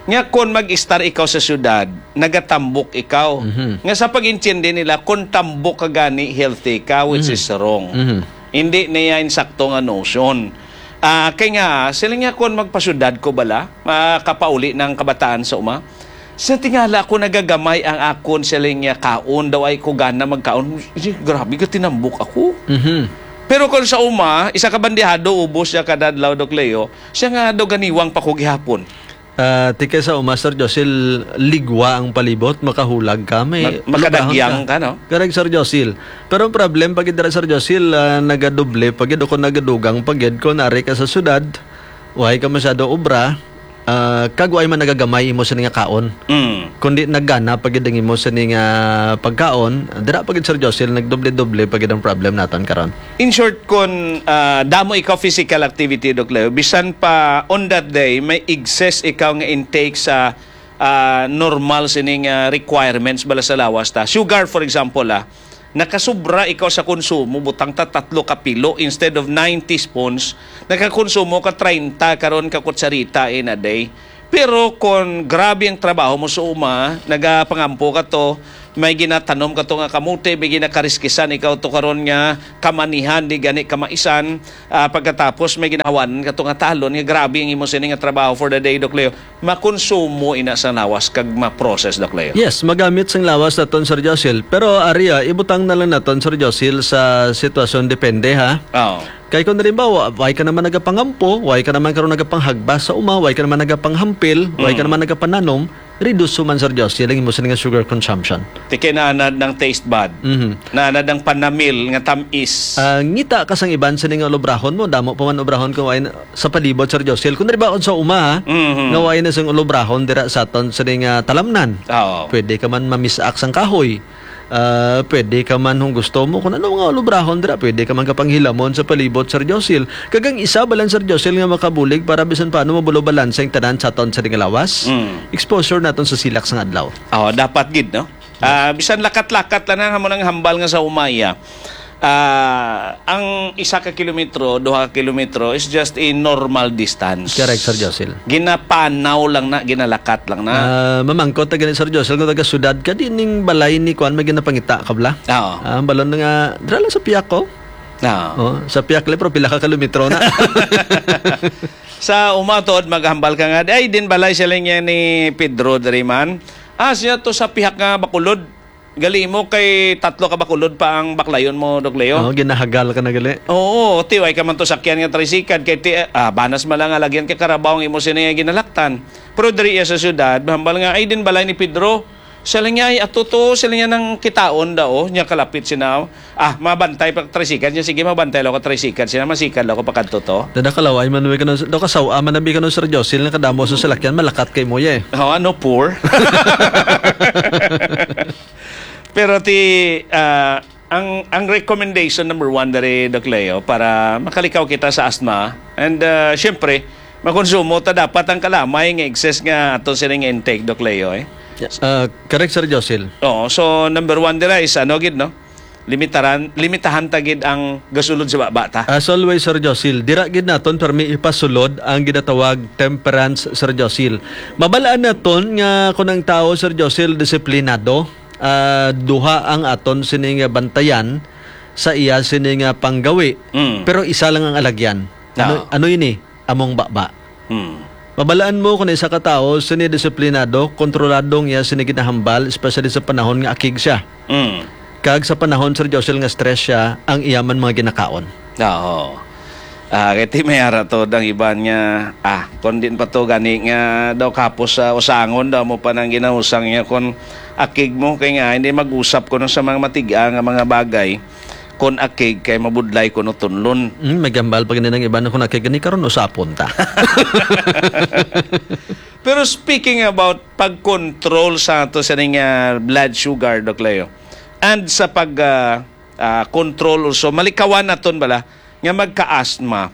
Nga kon mag-istar ikaw sa syudad, nagatambok ikaw. Mhm. Nga sa pag-intindi nila, kung tambok ka gani, healthy ka, which Mhm. is wrong. Mhm. Hindi niya insakto nga notion. Ah, kay nga, sila niya, "Kung magpasyudad ko bala, makapauli ng kabataan sa uma." Sa tingala ko, nagagamay ang akon, sila niya, kaon daw ay ko gana magkaon. Ay, grabe ka, tinambok ako. Mhm. Pero kung sa uma, isa ka bandihado, ubos siya kada adlaw, Doc Leo, siya nga daw ganiwang pa ko gihapon. Ah, tikay sa uma, Sir Josil, ligwa ang palibot, makahulag ka, may Ma-, makadagyang lugahan ka. Ka, no? Correct, Sir Josil. Pero ang problem, pag dira, Sir Josil, ah, nagadoble, pag o kung nagadugang, pag kung ari ka sa syudad, way ka masyado obra, ah, kag way man nagagamay imo sini nga kaon. Mm. Kundi nagana pa gid ang imo sini nga pagkaon, dira pa gid, Sir Josil, nagdoble-doble pa gid ang problem naton karon. In short, kun, ah, damo ikaw physical activity, Doc Leo, bisan pa on that day, may excess ikaw nga intake sa, ah, normal sining, ah, requirements bala sa lawas ta. Sugar, for example, ah, nakasubra ikaw sa konsumo, butang ta tatlo ka pilo instead of nine teaspoons, nakakonsumo ka treinta karon ka kutsarita in a day. Pero kung grabe ang trabaho mo sa uma, nagapangampo ka to, may ginatanom ka to nga kamote, may ginakariskisan ikaw to karon nga kamanihan, di gani kamaisan, ah, pagkatapos may ginahawan ka to nga talon, nga grabe ang imo sini nga trabaho for the day, Doc Leo. Makonsumo ina sang lawas kag ma-process, Doc Leo. Yes, magamit sang lawas naton, Sir Josil. Pero ari, ah, ibutang na lang naton, Sir Josil, sa sitwasyon depende, ha? Oo. Kay kung halimbawa, way ka naman nagapangampo, way ka naman karon nagapanghagbas sa uma, way ka naman nagapanghampil, way ka Mm. naman nagapananom, reduce man, Sir Josil, ang imo sini nga sugar consumption. Ti kay naanad ng taste bud. Mhm. Naanad ng panamil nga tamis. Ah, ngita ka sang iban sini nga ulubrahon mo, damo pa man ulubrahon kung way na, sa palibot, Sir Josil. Kung halimbawa, kung sa uma, ha, Mhm. nga way na sang ulubrahon dira sa aton sini nga talamnan. Oo. Pwede ka man mamisak sang kahoy. Ah, pwede ka man kung gusto mo, kung ano nga ulubrahon dira, pwede ka man kapanghilamon sa palibot, Sir Josil. Kag ang isa ba lang, Sir Josil, nga makabulig para bisan paano mabulo balanse ang tanan sa aton sini nga lawas? Mm. Exposure naton sa silak sang adlaw. Oh, dapat gid, no? Ah, bisan lakat-lakat lang ang amo nang hambal nga sa umaya. Ah, ang isa ka kilometro, duha ka kilometro is just a normal distance. Correct, Sir Josil. Ginapanaw lang na, ginalakat lang na. Ah, mamangkot na gani, Sir Josil, kung taga syudad ka, di ning balay ni kuan may ginapangita ka bala? Oo. Ah, ang balon nga, dira lang sa piyak ko. Oo. Oh, sa piyak lang, pero pila ka kilometro na. Sa uma, tuod, maghambal ka nga, "Ay, din balay sila niya ni Pedro diri man." Ah, siya to sa pihak nga Bacolod. Gali mo kay tatlo ka Bacolod pa ang baklayon mo, Doc Leo. Oo, ginahagal ka na gali. Oo, ti, way ka man to sakyan nga tricycle, kay ti, ah, banas man lang nga lagyan kay karabaw ang imo sini nga ginalaktan. Pero diri iya sa syudad, mahambal nga, "Ay, din balay ni Pedro." Siya lang niya, "Ay, ato to," siya lang niya nang kitaon daw, niya kalapit sina, "Ah, mabantay pa tricycle niya, sige, mabantay lang ako tricycle siya, masikad lang ako pakadto to." Dada kalaway man, may kano, daw kasawa man nabi kano, Sir Josil, nga kadamo sa salakyan, malakat kay mo, eh. Oh, ano, poor? Pero ti, ah, ang, ang recommendation number one diri, Doc Leo, para makalikaw kita sa asthma, and, ah, syempre, makonsumo ta dapat ang kalamay nga excess nga ato sini nga intake, Doc Leo, eh. Yes. Ah, correct, Sir Josil. Oo, so number one dira is ano gid, no? Limitaran, limitahan ta gid ang gasulod sa baba ta. As always, Sir Josil, dira gid naton permi ipasulod ang ginatawag temperance, Sir Josil. Mabalaan naton nga kung ang tao, Sir Josil, disiplinado, ah, duha ang aton sini nga bantayan sa iya sini nga panggawi, Mm. pero isa lang ang alagyan. Ano, Ah. ano ini? Among baba. Mm. Mabalaan mo kung isa ka tawo sini disiplinado, kontrolado ang iya sini ginahambal, especially sa panahon nga akig siya. Mm. Kag sa panahon, Sir Josel, nga stress siya, ang iya man mga ginakaon. Oo. Ah, kay ti may ara to ang iban nga, ah, kon din pa to gani nga daw kapos sa usangon daw mo pa nang ginausang niya kon akig mo kay nga hindi mag-usap kuno sa mga matiga nga mga bagay kon akig kay mabudlay kuno tunlon. Mm, may gambal pa gani nang iban kon akig gani karon usapon ta. Pero speaking about pag-control sa ato sa ning, ah, blood sugar, Doc Leo, and sa pag, ah, ah, control also, malikawan naton bala nga magka-asthma.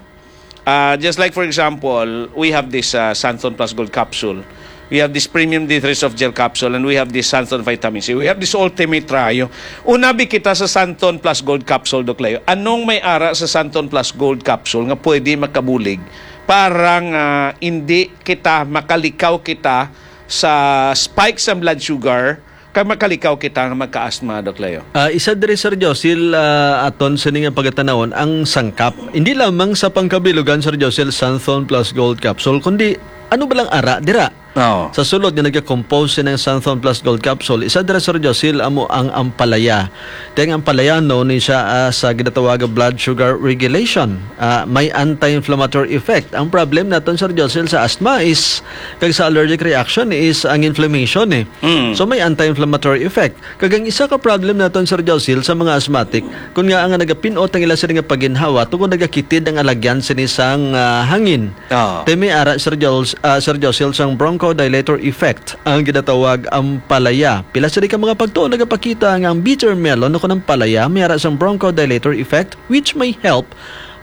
Ah, just like, for example, we have this, ah, Santon Plus Gold capsule. We have this premium D three soft gel capsule, and we have this Santon vitamin C. We have this Ultimate Trio. Unabi kita sa Santon Plus Gold capsule, Doc Leo. Anong may ara sa Santon Plus Gold capsule nga pwede makabulig para nga hindi kita makalikaw kita sa spike sa blood sugar, kag makalikaw kita nga magka-asthma, Doc Leo? Ah, isa diri, Sir Josil, ah, aton sini nga pagatanawon ang sangkap. Hindi lamang sa pangkabilugan, Sir Josil, Santhon Plus Gold Capsule, kundi ano ba lang ara dira? Oo. Sa sulod nga nagakompose sini nga Santhon Plus Gold Capsule, isa dira, Sir Josil, amo ang ampalaya. Kay ang ampalaya, no, ni siya, ah, sa ginatawag nga blood sugar regulation. Ah, may anti-inflammatory effect. Ang problem naton, Sir Josil, sa asthma is, kag sa allergic reaction is ang inflammation, eh. Mm. So, may anti-inflammatory effect. Kag ang isa ka problem naton, Sir Josil, sa mga asthmatic, kun nga nga nagapinot ang ila sila nga paginhawa tungod nagakitid ang alagyan sini sang, ah, hangin. Ah. Ti may ara, Sir Jos-, ah, Sir Josil, sang bronchodilator effect, ang ginatawag ampalaya. Pila sila ka mga pagtuon nagapakita nga ang bitter melon o kun ang palaya may ara sang bronchodilator effect, which may help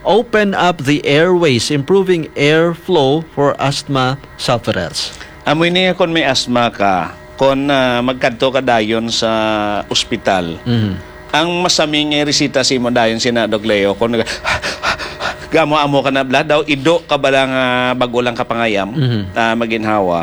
open up the airways, improving airflow for asthma sufferers. Amo ini kon may asthma ka, kon, ah, magkadto ka dayon sa ospital, Mhm. ang masaming nga resita sa imo dayon sina, Doc Leo, kon nag-, gamo-amo ka na, bala daw, ido ka bala nga bago lang ka pangayam, Mhm. ah, maginhawa,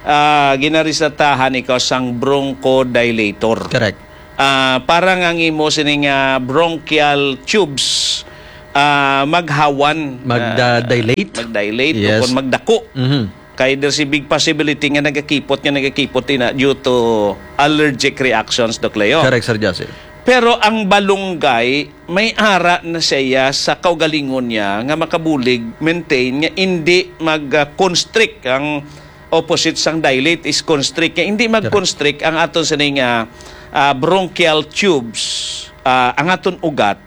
ah, ginaresetahan ikaw sang bronchodilator. Correct. ah, para nga ang imo sini nga bronchial tubes, ah, maghawan, Mag, ah, ah, dilate? Mag-dilate o Yes. kung magdako. Mhm. Kay there's a big possibility nga nagakipot, nga nagakipot ina due to allergic reactions, Doc Leo. Correct, Sir Josil. Pero ang balunggay, may ara na siya sa kaugalingon niya nga makabulig, maintain, nga hindi mag-, ah, constrict. Ang opposite sang dilate is constrict. Nga hindi Correct. mag-constrict ang aton sining, ah, ah, bronchial tubes, ah, ang aton ugat,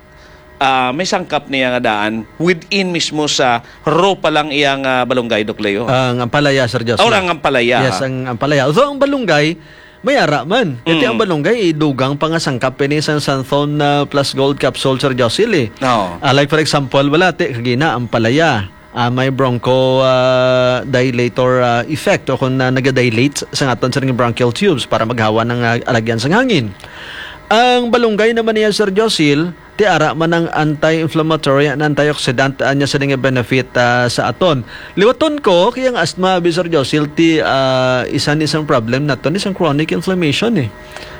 ah, may sangkap niya nga daan within mismo sa raw pa lang iyang, ah, balunggay, Doc Leo. Ang ampalaya, Sir Josil. Or ang ampalaya, Yes, ha? ang ampalaya. Although ang balunggay, may ara man. Kaya Mm. ang balunggay, idugang pa nga sangkap ini sang Santhon, ah, Plus Gold Capsule, Sir Josil, eh. Oo. Ah, like, for example, wala, ti, kagina, ampalaya. Ah, may broncho, ah, dilator, ah, effect o kung, ah, nagadilate sa aton sa bronchial tubes para maghawa ng, ah, alagyan sang hangin. Ang balunggay naman niya, Sir Josil, ti ara man ang anti-inflammatory and antioxidant, ah, niya sa nga benefit, ah, sa aton. Liwaton ko, kaya ang asthma, bi, Sir Josil, ti, ah, isa ni sang problem naton, isang chronic inflammation, eh.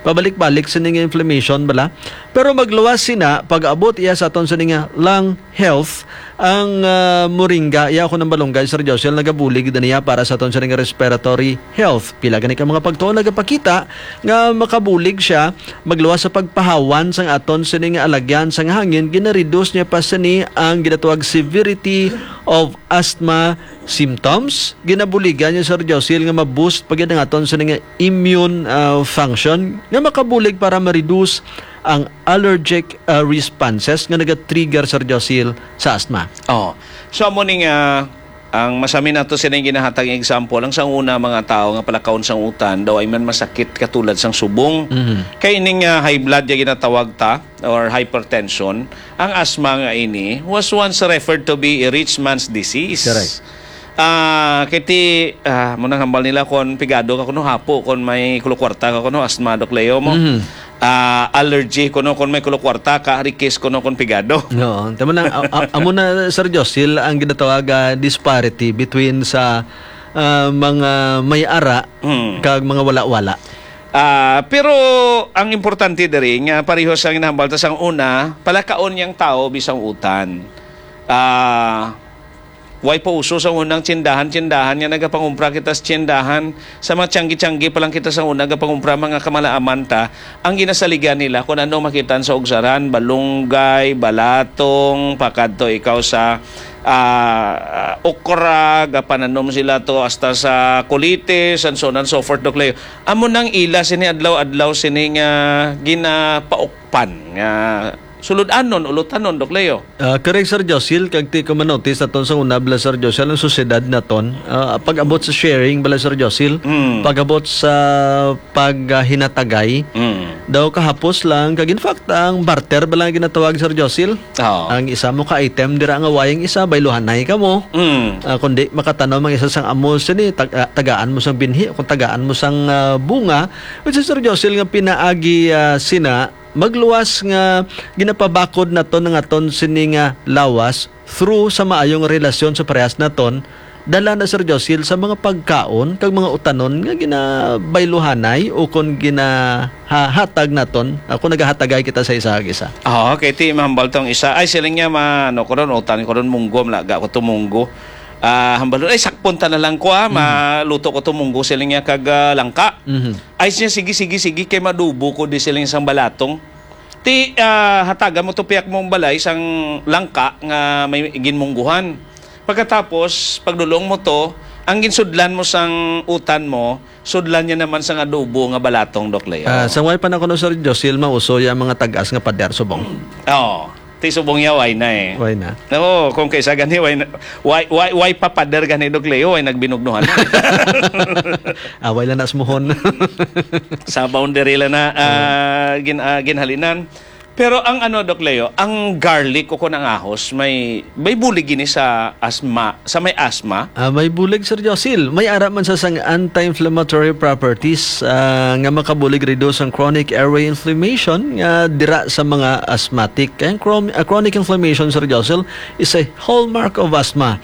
Pabalik-balik sa nga inflammation, bala. Pero magluwas sina, pag-abot iya sa aton sa nga lung health, ang, ah, moringa, iya ko ng balunggay, Sir Josil, nagabulig na niya para sa aton sa nga respiratory health. Pila gani ka mga pagtuon nagapakita nga makabulig siya magluwas sa pagpahawan sang aton sini nga alagyan sang hangin, ginareduce niya pa sini ang ginatawag severity of asthma symptoms. Ginabuligan niya, Sir Josil, nga ma-boost pa gyud ang aton sini nga immune, ah, function nga makabulig para ma-reduce ang allergic, ah, responses nga nagatrigger, Sir Josil, sa asthma. Oh. So, amo ni nga ang masami nato sila yung ginahatag nga example, ang sang una mga tao nga palakaon sang utan, daw ay man masakit katulad sang subong. Mhm. Kay ining, ah, high blood nga ginatawag ta or hypertension, ang asthma nga ini was once referred to be a rich man's disease. Correct. Ah, kay ti, ah, mo nang hambal nila kon pigado ka kuno hapo, kon may kulokwarta ka kuno asthma, Doc Leo mo. Mhm. Ah, allergy kuno kon may kulokwarta ka, rikis kuno kon pigado. Oo, tama na, a-, a-, amo na, Sir Josil, ang ginatawag, ah, disparity between sa, ah, mga may ara Hmm. kag mga wala-wala. Ah, pero ang importante diri nga pareho sa ginahambal ta sang una, palakaon niyang tawo bisang utan. Ah, way pa uso sa unang tsindahan-tsindahan nga nagapangumpra kita sa tsindahan. Sa mga tiyanggi-tiyanggi pa lang kita sa una, nagapangumpra mga kamalaaman ta, ang ginasaligan nila kung ano makitaan sa ugsaran, balunggay, balatong, pakadto ikaw sa, ah, okra, gapananom sila to hasta sa kulitis, and so on and so forth, Doc Leo. Amo nang ila sini adlaw-adlaw sini nga ginapaukpan nga sulod-anon, ulutanon, Doc Leo. Ah, correct, Sir Josil, kag ti ko manotis naton sa una, bala, Sir Josil, ang sosyedad naton, ah, pag-abot sa sharing, bala, Sir Josil, Mm. pag-abot sa paghinatagay, Mm. daw kahapos lang, kag in fact, ang barter, bala, ang ginatawag, Sir Josil, Oo. ang isa mo ka item, dira nga wayang isa, bayluhanay ka mo. Mm. Ah, kundi makatanom ang isa sang amo sini, tag-, ah, tagaan mo sang binhi, kung tagaan mo sang, ah, bunga, which is, Sir Josil, nga pinaagi, ah, sina, magluwas nga ginapabakod naton ang aton sini nga lawas through sa maayong relasyon sa parehas naton, dala na, Sir Josil, sa mga pagkaon kag mga utanon nga ginabayluhanay o kon ginahahatag naton, ah, kon nagahatagay kita sa isa kag isa. Oo, kay ti mahambal tong isa, "Ay, siling niya, ma-, ano ko ron, utan ko ron, munggo, malaga ko to munggo." Ah, hambalon, "Ay, sakpon ta na lang ko, ah, Mhm. maluto ko to munggo," siling niya, kag, ah, langka. Mhm. Ay siya, "Sige, sige, sige, kay madubo ko di siling sang balatong." Ti, ah, hatagan mo to piyak mong balay sang langka nga may ginmungguhan. Pagkatapos, pagdulong mo to, ang ginsudlan mo sang utan mo, sudlan niya naman sang adobo nga balatong, Doc Leo. Ah, sa way pa na kuno, Sir Josil, mauso ya mga tag-as nga pader subong. Oo. Ti subong ya, way na eh. Way na. Oo, kung kaysa gani, way na, way, way, way pa pader gani, Doc Leo, way nagbinugnuhan. Away lang na smuhon. Sa boundary lang na, ah, gin-, ah, ginhalinan. Pero ang ano, Doc Leo, ang garlic o kung ang ahos, may, may bulig gini sa asma, sa may asma. Ah, may bulig, Sir Josil. May ara man sa sang anti-inflammatory properties, ah, nga makabulig reduce ang chronic airway inflammation nga dira sa mga asthmatic. Kaya ang chrom-, ah, chronic inflammation, Sir Josil, is a hallmark of asthma.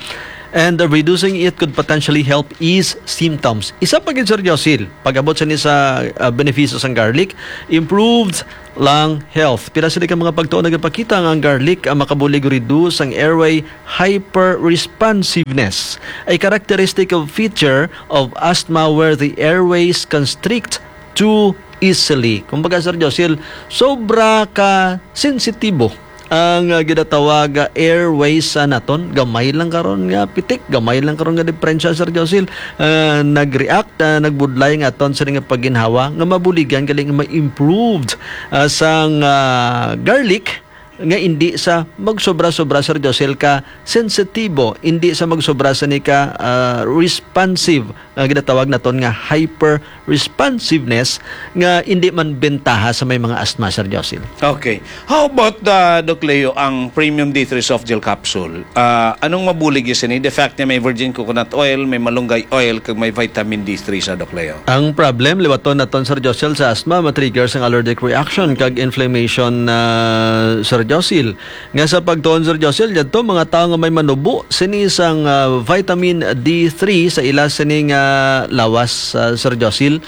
And uh, reducing it could potentially help ease symptoms. Isa pa gid, Sir Josil, pag-abot sa ni sa uh, benepisyo sang garlic, improved lung health. Pila sila ka mga pagtuon nagapakita nga ang garlic ang makabulig reduce ang airway hyperresponsiveness, a characteristic of feature of asthma where the airways constrict too easily. Kumbaga, Sir Josil, sobra ka sensitibo ang uh, ginatawag nga airways sa naton. Gamay lang karon nga pitik, gamay lang karon nga diperensya, Sir Josil, uh, nag-react, uh, nagbudlay nga aton sa nga pagginhawa nga mabuligan galing ma-improved uh, sang uh, garlic nga indi sa magsobra-sobra, Sir Josil, ka sensitibo, indi sa magsobra sa ni ka uh, responsive nga ginatawag naton nga hyper responsiveness nga indi man bentaha sa may mga asthma, Sir Josil. Okay. How about, uh, Doc Leo, ang Premium D three Soft Gel Capsule? Uh, anong mabulig sini? The fact niya may virgin coconut oil, may malunggay oil, kag may vitamin D three sa, Doc Leo. Ang problem, liwaton naton, Sir Josil, sa asthma, matriggers ang allergic reaction kag inflammation, uh, Sir Josil. Nga sa pagtuon, Sir Josil, yadto mga tawo nga may manubo sini sang uh, vitamin D three sa ila sini nga lawas, uh, Sir Josil,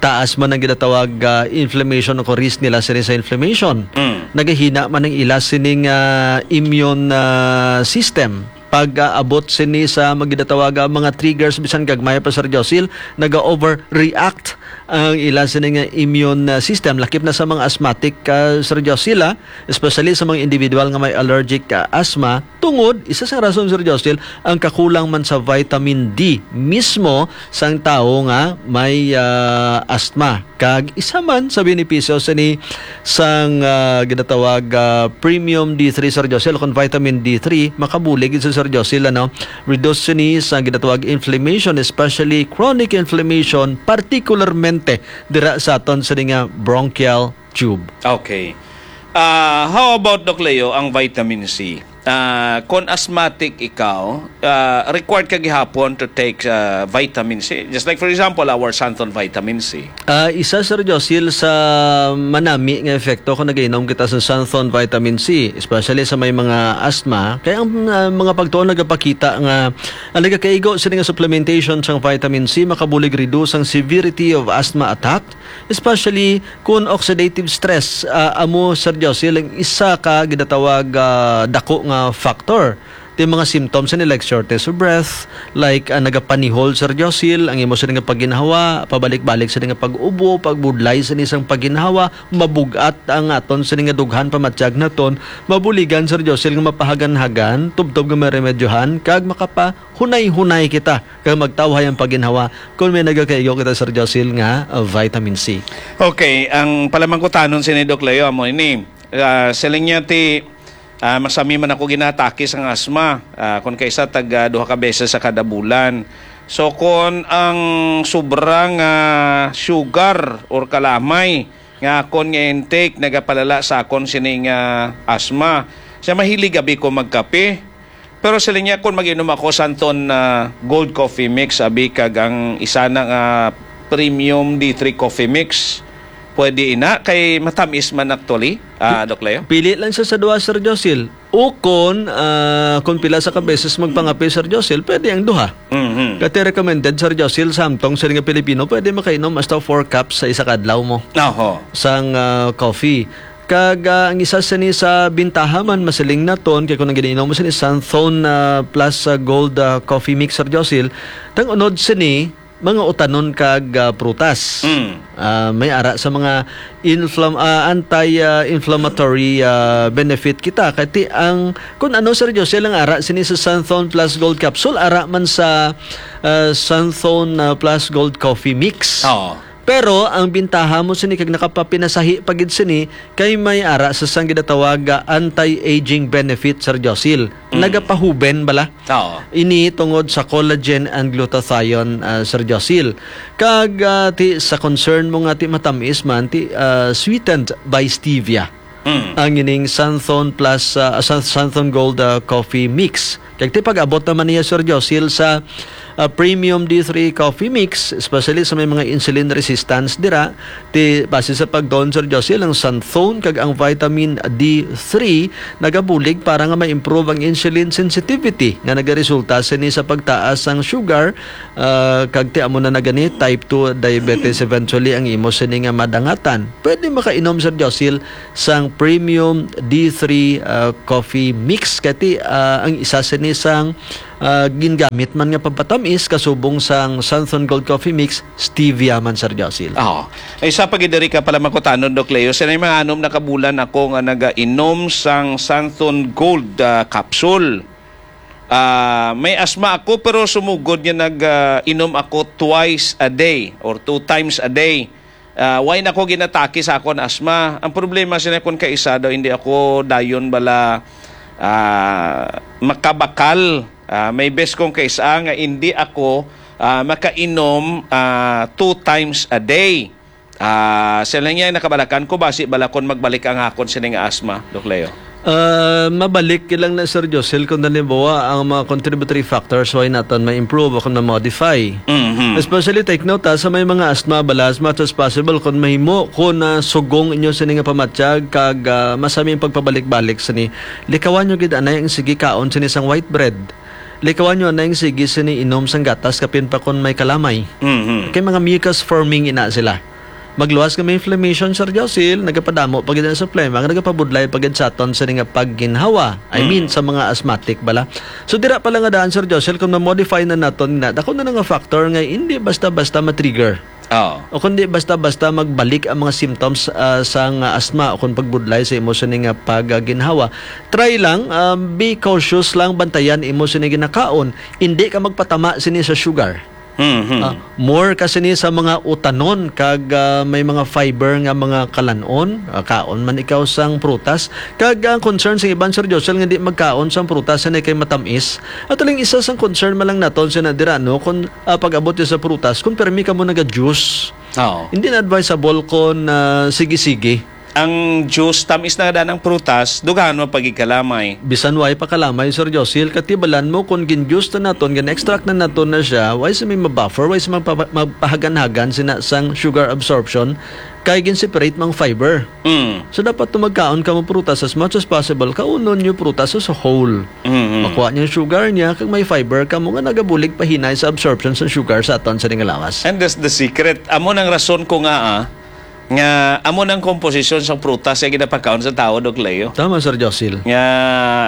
taas man ang ginatawag uh, inflammation o risk nila sini sa inflammation. Mm. Nagahina man ang ila sining uh, immune uh, system pag-abot sini sa mga ginatawag uh, mga triggers, bisan gagmay pa, Sir Josil, naga-overreact ang ila sini nga immune uh, system, lakip na sa mga asthmatic, uh, Sir Josil, ah, especially sa mga individual nga may allergic uh, asthma, tungod, isa sa rason, Sir Josil, ang kakulang man sa vitamin D mismo sang tawo nga may uh, asthma. Kag isa man sa benepisyo sini sang uh, ginatawag uh, premium D three, Sir Josil, kung vitamin D three, makabulig sa, Sir Josil, ano, reduce sini sa ginatawag inflammation, especially chronic inflammation, particularmente dira sa aton sini nga bronchial tube. Okay. Uh, how about, Doc Leo, ang vitamin C? Uh, kung asthmatic ikaw, uh, required ka gihapon to take uh, vitamin C. Just like, for example, our Santon vitamin C. Uh, isa, Sir Josil, sa manami nga epekto kung nagainom kita sa Santon vitamin C, especially sa may mga asthma. Kaya ang uh, mga pagtuon nagapakita nga ang nagakaigo sini nga supplementation sang vitamin C makabulig reduce ang severity of asthma attack, especially kun oxidative stress, ah, amo, Sir Josil, ang isa ka ginatawag, ah, dako nga factor. Ti mga symptoms ni, like shortness of breath, like, ah, nagapanihol, Sir Josil, ang imo sini nga pagginhawa, pabalik-balik sini nga pag-ubo, pagbudlay sini sang pagginhawa, mabug-at ang aton sini nga dughan, pamatyag naton, mabuligan, Sir Josil, nga mapahagan-hagan, tubtob nga maremedyohan, kag makapahunay-hunay kita kag magtawhay ang pagginhawa kon may nagakaigo kita, Sir Josil, nga, uh, vitamin C. Okay, ang palamangkutanon sini, Doc Leo, amo ini. Ah, siling niya ti, ah, masami man ako ginatake sang asma. Ah, kon kaisa tag, ah, duha ka beses sa kada bulan. So kon ang sobra nga sugar or kalamay nga akon nga intake nagapalala sa akon sining, ah, asma, siya mahilig abi ko magkape. Pero siling niya, kung mag-inom ako sa anton, ah, Gold Coffee Mix, abi, kag ang isa na nga Premium D three Coffee Mix, pwede ina kay matamis man actually, ah, Doc Leo? Pili lang siya sa duha, Sir Josil. Ukon, ah, kung pila sa ka beses magpangape, Sir Josil, pwede ang duha. Mhm. Kati recommended, Sir Josil, sa amtong siling nga Pilipino, pwede makainom hasta four cups sa isa ka adlaw mo Oho. sang, ah, coffee. Kag, ah, ang isa sini sa bintaha man, masiling naton, kay kung ang giniinom mo sini Santhon, ah, plus, ah, Gold, ah, Coffee Mix, Sir Josil, tang unod sini, mga utanon kag, ah, prutas. Mm. Ah, may ara sa mga inflam-, ah, anti, ah, inflammatory, ah, benefit kita. Kay ti ang, kung ano, Sir Josil, ang ara sini sa Santhon plus Gold Capsule, ara man sa, ah, Santhon, ah, plus Gold Coffee Mix. Oo. Pero ang bintaha mo sini kag nakapapinasahi pa gid sini kay may ara sa sang ginatawag nga anti-aging benefit, Sir Josil. Mm. Nagapahuben bala. Oo. Ini tungod sa collagen and glutathione, ah, Sir Josil. Kag, ah, ti sa concern mo nga ti matamis man, ti, ah, sweetened by stevia. Mm. Ang ining Santhon plus, ah, San-, Santhon Gold, ah, Coffee Mix. Kag ti pag-abot naman niya, Sir Josil, sa, ah, premium D three coffee mix, especially sa may mga insulin resistance dira. Ti, base sa pagtuon, Sir Josil, ang xanthone kag ang vitamin D three nagabulig para nga ma-improve ang insulin sensitivity nga nagaresulta sini sa pagtaas sang sugar, ah, kag ti amo na na gani type two diabetes eventually ang imo sini nga madangatan. Pwede makainom, Sir Josil, sang premium D three, ah, coffee mix kay ti, ah, ang isa sini sang ah, gingamit man nga pampatamis kasubong sang Santhon Gold Coffee Mix, stevia man, Sir Josil. Oo. Ay, sa pagidiri ka pala makutanon, Doc Leo, sinay mga anom na kabulan ako nga nagainom sang Santhon Gold, ah, capsule. Ah, may asma ako, pero sumugod nga nag, ah, inom ako twice a day or two times a day. Ah, why na ko ginatake sa akon asma? Ang problema sina, kun kaisa daw, hindi ako dayon bala, ah, makabakal. Ah, may best kung kaisa nga hindi ako, ah, makainom, ah, two times a day. Ah, sila niya nakabalakan ko, basi bala kon magbalik ang akon sini nga asma, Doc Leo. Ah, mabalik lang na, Sir Josel, kung halimbawa ang mga contributory factors, why naton ma-improve o kung ma-modify. Mhm. Especially, take note, ha, sa may mga asthma, bala, as much as possible, kung mahimo, kung, ah, sugong inyo sini nga pamatyag, kag, ah, masami ang pagpabalik-balik sini, likawan nyo gid anay ang sige kaon sini sang white bread. Likawan nyo anay ang sige sini inom sang gatas, kapin pa kung may kalamay. Mhm. Kay mga mucus forming ina sila. Magluwas nga may inflammation, Sir Josil, nagapadamo pa gid na sa phlegm, ang nagapabudlay pa gid sa aton sini nga pagginhawa. I mean, Mm. sa mga asthmatic bala. So, dira pa lang nga daan, Sir Josil, kung ma-modify na naton na, dako na nga factor nga hindi basta-basta ma-trigger. Oo. O kundi basta-basta magbalik ang mga symptoms, ah, sa nga asthma o kung pagbudlay sa imo sini nga pagginhawa. Try lang, um, be cautious lang, bantayan imo sini ginakaon. Hindi ka magpatama sini sa sugar. Mhm. Ah, more ka sini sa mga utanon kag, ah, may mga fiber nga mga kalan-on, ah, kaon man ikaw sang prutas. Kag ang concern sa iban, Sir Josel, nga di magkaon sang prutas, sini kay matamis. At aling isa sang concern man lang naton sina dira, no, kung, ah, pag-abot sa prutas, kung permi ka mo naga-juice. Oo. Hindi na advisable kung, ah, sige-sige. Ang juice, tamis na daan ang prutas, dughan mo pagigkalamay. Bisan way pa kalamay, Sir Josil, katibalan mo kung gin-juice na naton, gin-extract na naton na siya, way sa may mabuffer, way sa magpa-, magpahagan-hagan sina sang sugar absorption, kay gin-separate mang fiber. Mm. So, dapat to magkaon ka mo prutas as much as possible, kaunon nyo prutas as a whole. Mm-hmm. Makuha niya yung sugar niya, kag may fiber ka mo nga nagabulig pahinay sa absorption sa sugar sa aton sa nga lawas. And that's the secret. Amo nang rason ko nga, ah, nga amo nang komposisyon sa prutas nga ginapakaon sa tao, Doc Leo. Tama, Sir Josil. Nga,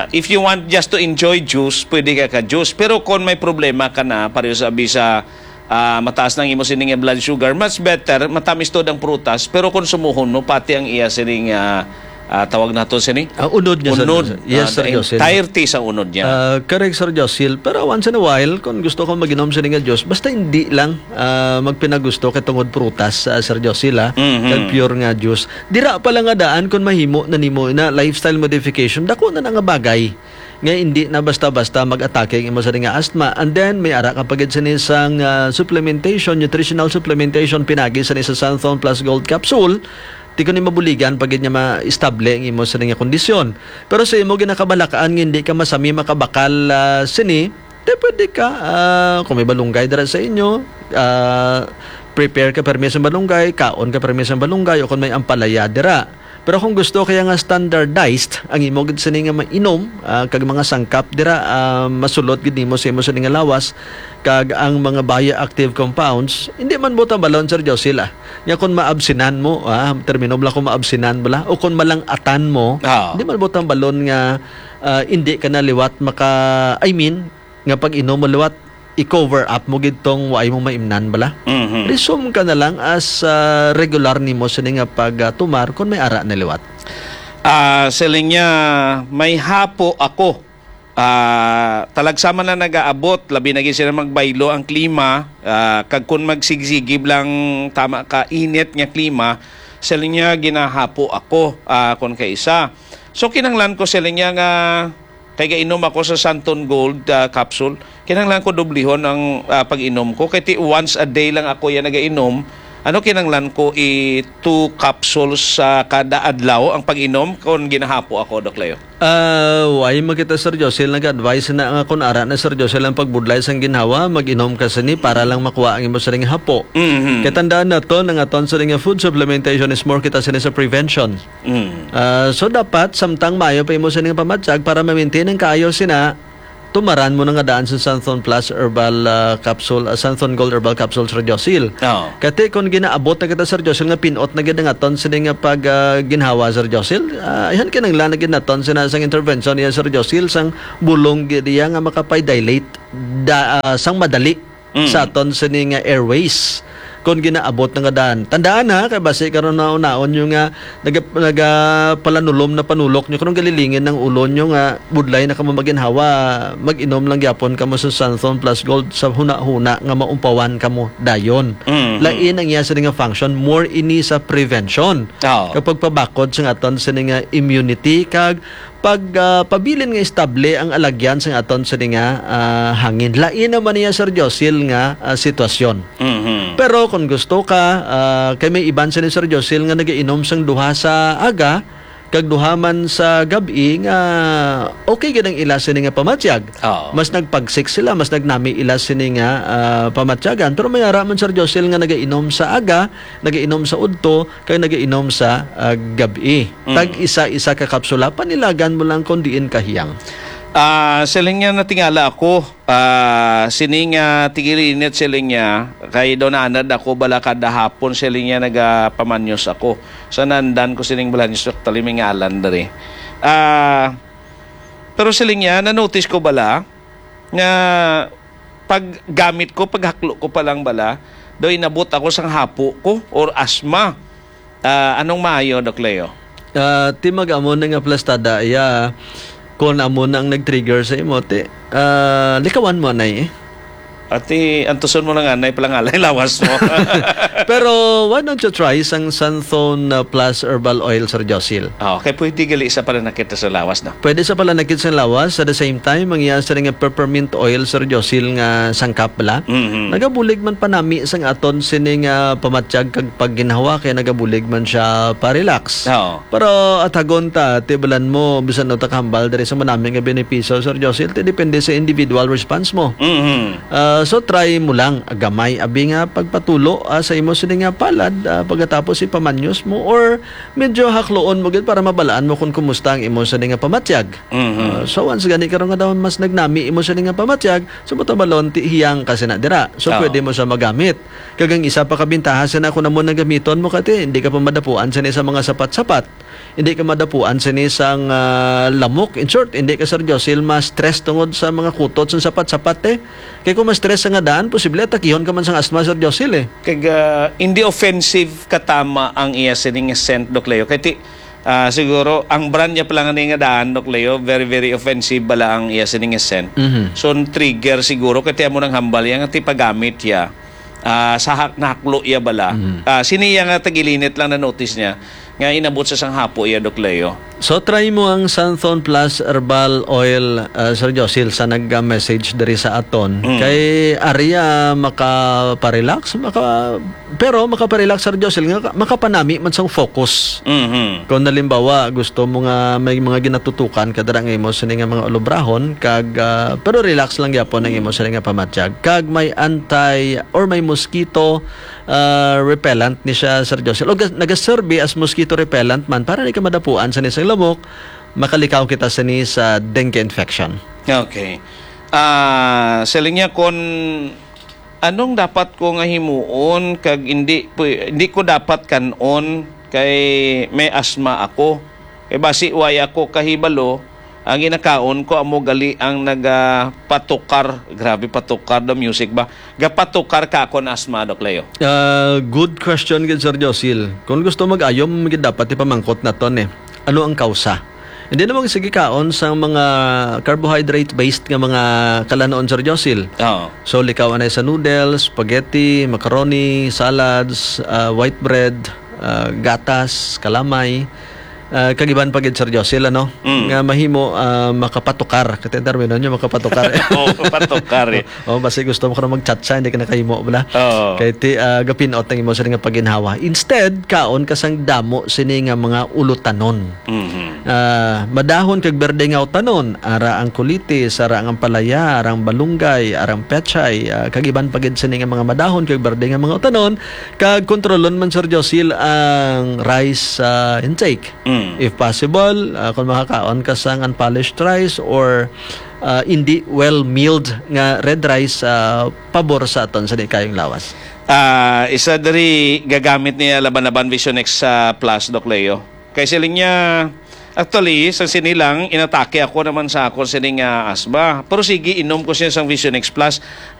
if you want just to enjoy juice, pwede ka ka-juice. Pero kung may problema ka na, pareho sa abi sa, ah, mataas ng imo sining blood sugar, much better, matamis to ang prutas, pero konsumuhon mo pati ang iya sining, ah, ah, tawag nato sini? Ah, unod niya, Sir Unod. Josil. Yes, Ah, Sir the Josil. Entirety sa unod niya. Ah, correct, Sir Josil. Pero once in a while, kung gusto ko mag-inom sini nga juice, basta hindi lang ah, magpinagusto kay tungod prutas, ah, Sir Josil, ah, Mhm. kag pure nga juice. Dira pa lang nga daan kung mahimo na nimo na lifestyle modification, dako na na nga bagay nga hindi na basta-basta mag-atake ang imo sa nga asthma. And then, may ara ka pa gid sini sang, ah, supplementation, nutritional supplementation, pinagi sini sa Santhon Plus Gold Capsule. Ti ko ni mabuligan pa gid nga ma-estable ang imo sa nga kondisyon. Pero sa imo ginakabalakaan nga hindi ka masami makabakal, ah, sini, Te, pwede ka, ah, kung may balunggay dira sa inyo, ah, prepare ka permi sa balunggay, kaon ka permi sa balunggay, o kung may ampalaya dira. Pero kung gusto kaya nga standardized ang imo gid sini nga mainom, ah, kag mga sangkap dira, ah, masulot gid nimo sa imo sini nga lawas, kag ang mga bioactive compounds, hindi man buta balon, Sir Josil, ah. Nya kung maabsinan mo, ah, termino bala kung maabsinan bala, o kung malang-atan mo, Ah. hindi man buta balon nga, ah, hindi ka na liwat maka, I mean, nga pag-inom mo liwat, i-cover up mo gid tong waay mo maimnan bala. Mhm. Resume ka na lang as, ah, regular nimo sini nga pagtumar kon may ara na liwat. Ah, siling niya, may hapo ako. Ah, talagsama na nagaabot, labi na gid sila magbaylo ang klima, ah, kag kun magsigsigib lang tama ka init nga klima, siling niya, ginahapo ako, ah, kon kaisa. So, kinahanglan ko, siling niya, nga Kay gainom ako sa Santon Gold, ah, capsule. Kinahanglan ko dublihon ang, ah, pag-inom ko. Kay ti once a day lang ako yan nagainom. Ano kinanglan ko i two capsules sa kada adlaw ang pag-inom kon ginahapo ako, Doc Leo? Ah, why mo kita, Sir Josil, nag-advise na nga kung ara na, Sir Josil, ang pagbudlay sang ginhawa, mag-inom ka sini para lang makuha ang imo sining hapo. Mhm. Kay tandaan naton, ang aton sining nga food supplementation is more kita sini sa prevention. Mm. Ah, so dapat, samtang maayo pa imo sining pamatyag para ma-maintain ang kaayo sina, tumaran mo na nga daan sa Santhon Plus Herbal, ah, Capsule, ah, Santhon Gold Herbal Capsule, Sir Josil. Oo. Kati kung ginaabot na kita, Sir Josil, nga pinot na gid ang aton sini nga pag, ah, ginhawa, Sir Josil, ah, ayhan kinanglan na gid naton sina sang intervention niya, Sir Josil, sang bulong gid iya nga makapay-dilate da, ah, sang madali Mm. sa aton sini nga airways. Kung ginaabot na nga daan. Tandaan ha, kay basi karon na unaon nyo nga naga-, nagapalanulom na panulok nyo, karon galilingin ang ulo nyo nga budlay na kamo maginhawa, mag-inom lang gyapon kamo sa Santhon Plus Gold sa huna-huna nga maumpawan kamo dayon. Mm, mm. Lain ang iya sini nga function, more ini sa prevention. Oo. Kapag pabakod sa aton sini nga immunity, kag pag, ah, pabilin nga estable ang alagyan sa aton sini nga, ah, hangin. Lain naman niya, Sir Josil, nga, ah, sitwasyon. Mhm. Pero kung gusto ka, ah, kay may iban sini, Sir Josil, nga nagainom sang duha sa aga, kag duha man sa gab-i nga okay gid ang ila sini nga pamatyag. Oo. Mas nagpagsik sila, mas nagnami ila sini nga, ah, pamatyagan. Pero may ara man, Sir Josil, nga nagainom sa aga, nagainom sa udto, kag nagainom sa, ah, gab-i. Mm. Tag isa-isa ka kapsula, panilagan mo lang kung diin kahiyang. Ah, siling niya, natingala ako, ah, sini nga tigilinit, siling niya, kay daw naanad ako bala kada hapon, siling niya, nagapamanyos ako. Sa nandan ko sining balanyos, actually, may ngalan diri. Ah, pero siling niya, na-notice ko bala nga paggamit ko, paghaklo ko pa lang bala, daw inabot ako sang hapo ko or asma. Ah, anong maayo, Doc Leo? Ah, ti mag-amo na nga plastada, iya, kung amo na ang nag-trigger sa imo, ti, ah, likawan mo, anay, eh. Ati, antuson mo na nga, anay, palangalay lawas mo. Pero why don't you try sang Santhon, ah, Plus Herbal Oil, Sir Josil? Ah, okay, pwede gali sa pananakit sa lawas, no? Pwede sa pananakit sa lawas, at the same time, ang iya sa nga peppermint oil, Sir Josil, nga sangkap bala. Mhm. Nagabulig man panami sang aton sining, ah, pamatyag kag pagginhawa, kay nagabulig man siya pa-relax. Oo. Pero atagon ta, tibalan mo, bisan no ta kahambal diri sa manami nga benepisyo, Sir Josil, ti depende sa individual response mo. Mhm. Ah, so try mo lang, gamay, abi nga pagpatulo, ah, sa imo sini nga palad, ah, pagkatapos ipamanyos mo, or medyo hakloon mo gid para mabalaan mo kung kumusta ang imo sini nga pamatyag. Mhm. Ah, so once gani karon nga daw mas nagnami imo sini nga pamatyag, so matabalon ti hiyang ka sina dira. So Oo. Pwede mo siya magamit. Kag ang isa pa ka bintaha sina kung amo nagamiton mo kati, hindi ka pa madapuan sini sa mga sapat-sapat. Hindi ka madapuan sini sang, ah, lamok. In short, hindi ka, Sir Josil, ma-stress tungod sa mga kutot sa sapat-sapat, eh. Kay kung ma-stress sa nga daan, posible atakihon ka man sang asma, Sir Josil, eh. Kag, ah, hindi offensive katama ang iya sining scent, Doc Leo. Kay ti, ah, siguro, ang brand niya pala nga ni nga daan, Doc Leo, very, very offensive bala ang iya sining scent. Mhm. So, ang trigger siguro, kay ti amo nang hambal iya nga ti paggamit iya, ah, sa hak-, nahaklo iya bala. Mhm. Ah, sini iya nga tagilinit lang na notice niya, nga inabot sa sang hapo iya, Doc Leo. So, try mo ang Santhon Plus Herbal Oil, ah, Sir Josil, sa nag-message diri sa aton. Mm. Kay ari, ah, makaparelax, maka-, pero makaparelax, Sir Josil, nga makapanami man sang focus. Mhm. Kung halimbawa, gusto mo nga may mga ginatutukan ka dira nga imo sini nga mga ulubrahon, kag, ah, pero relax lang gyapon ang imo sini nga pamatyag. Kag may anti or may mosquito, ah, repellent ni siya, Sir Josil. O ga-, nagaserbi as mosquito repellent man para di ka madapuan sa nisang lamok, makalikaw kita sa ni sa dengue infection. Okay. Ah, siling niya, kung anong dapat ko nga himuon kag hindi pu-, hindi ko dapat kan-on kay may asma ako. Kay basi way ako kahibalo, ang ginakaon ko amo gali ang nagapatukar. Grabe, patukar the music ba? Gapatukar ka akon asma, Doc Leo. Ah, good question gid, Sir Josil. Kung gusto mag-ayom, gid dapat ipamangkot naton, eh. Ano ang kausa? Hindi naman sige kaon sa mga carbohydrate-based nga mga kalanon, Sir Josil. Oo. So, likaw anay sa noodles, spaghetti, macaroni, salads, ah, white bread, ah, gatas, kalamay. Ah, kag iban pa gid, Sir Josil, ano? Mm. Nga mahimo, ah, makapatukar. Kati ang termino niya, makapatukar. Oo, patukar eh. Oh, basi gusto mo ka na magchatsa, hindi ka nakahimo, bala. Oo. Kay ti, ah, gapinot ang imo sini nga paginhawa. Instead, kaon ka sang damo sini nga mga ulutanon. Mhm. Ah, madahon kag berde nga utanon, ara ang kulitis, ara ang ampalaya, ara ang balunggay, ara ang pechay, ah, kag iban pa gid sini nga mga madahon kag berde nga mga utanon, kag kontrolon man, Sir Josil, ang rice, ah, intake. Mm. If possible, ah, kung makakaon ka sang unpolished rice or, ah, hindi well milled nga red rice, ah, pabor sa aton sa di kayong lawas. Ah, isa diri gagamit niya laban-laban Vision X, ah, Plus, Doc Leo. Kay siling niya, actually, sa sini lang, inatake ako naman sa ako sining, ah, asma. Pero sige, inom ko siya sang Vision X Plus.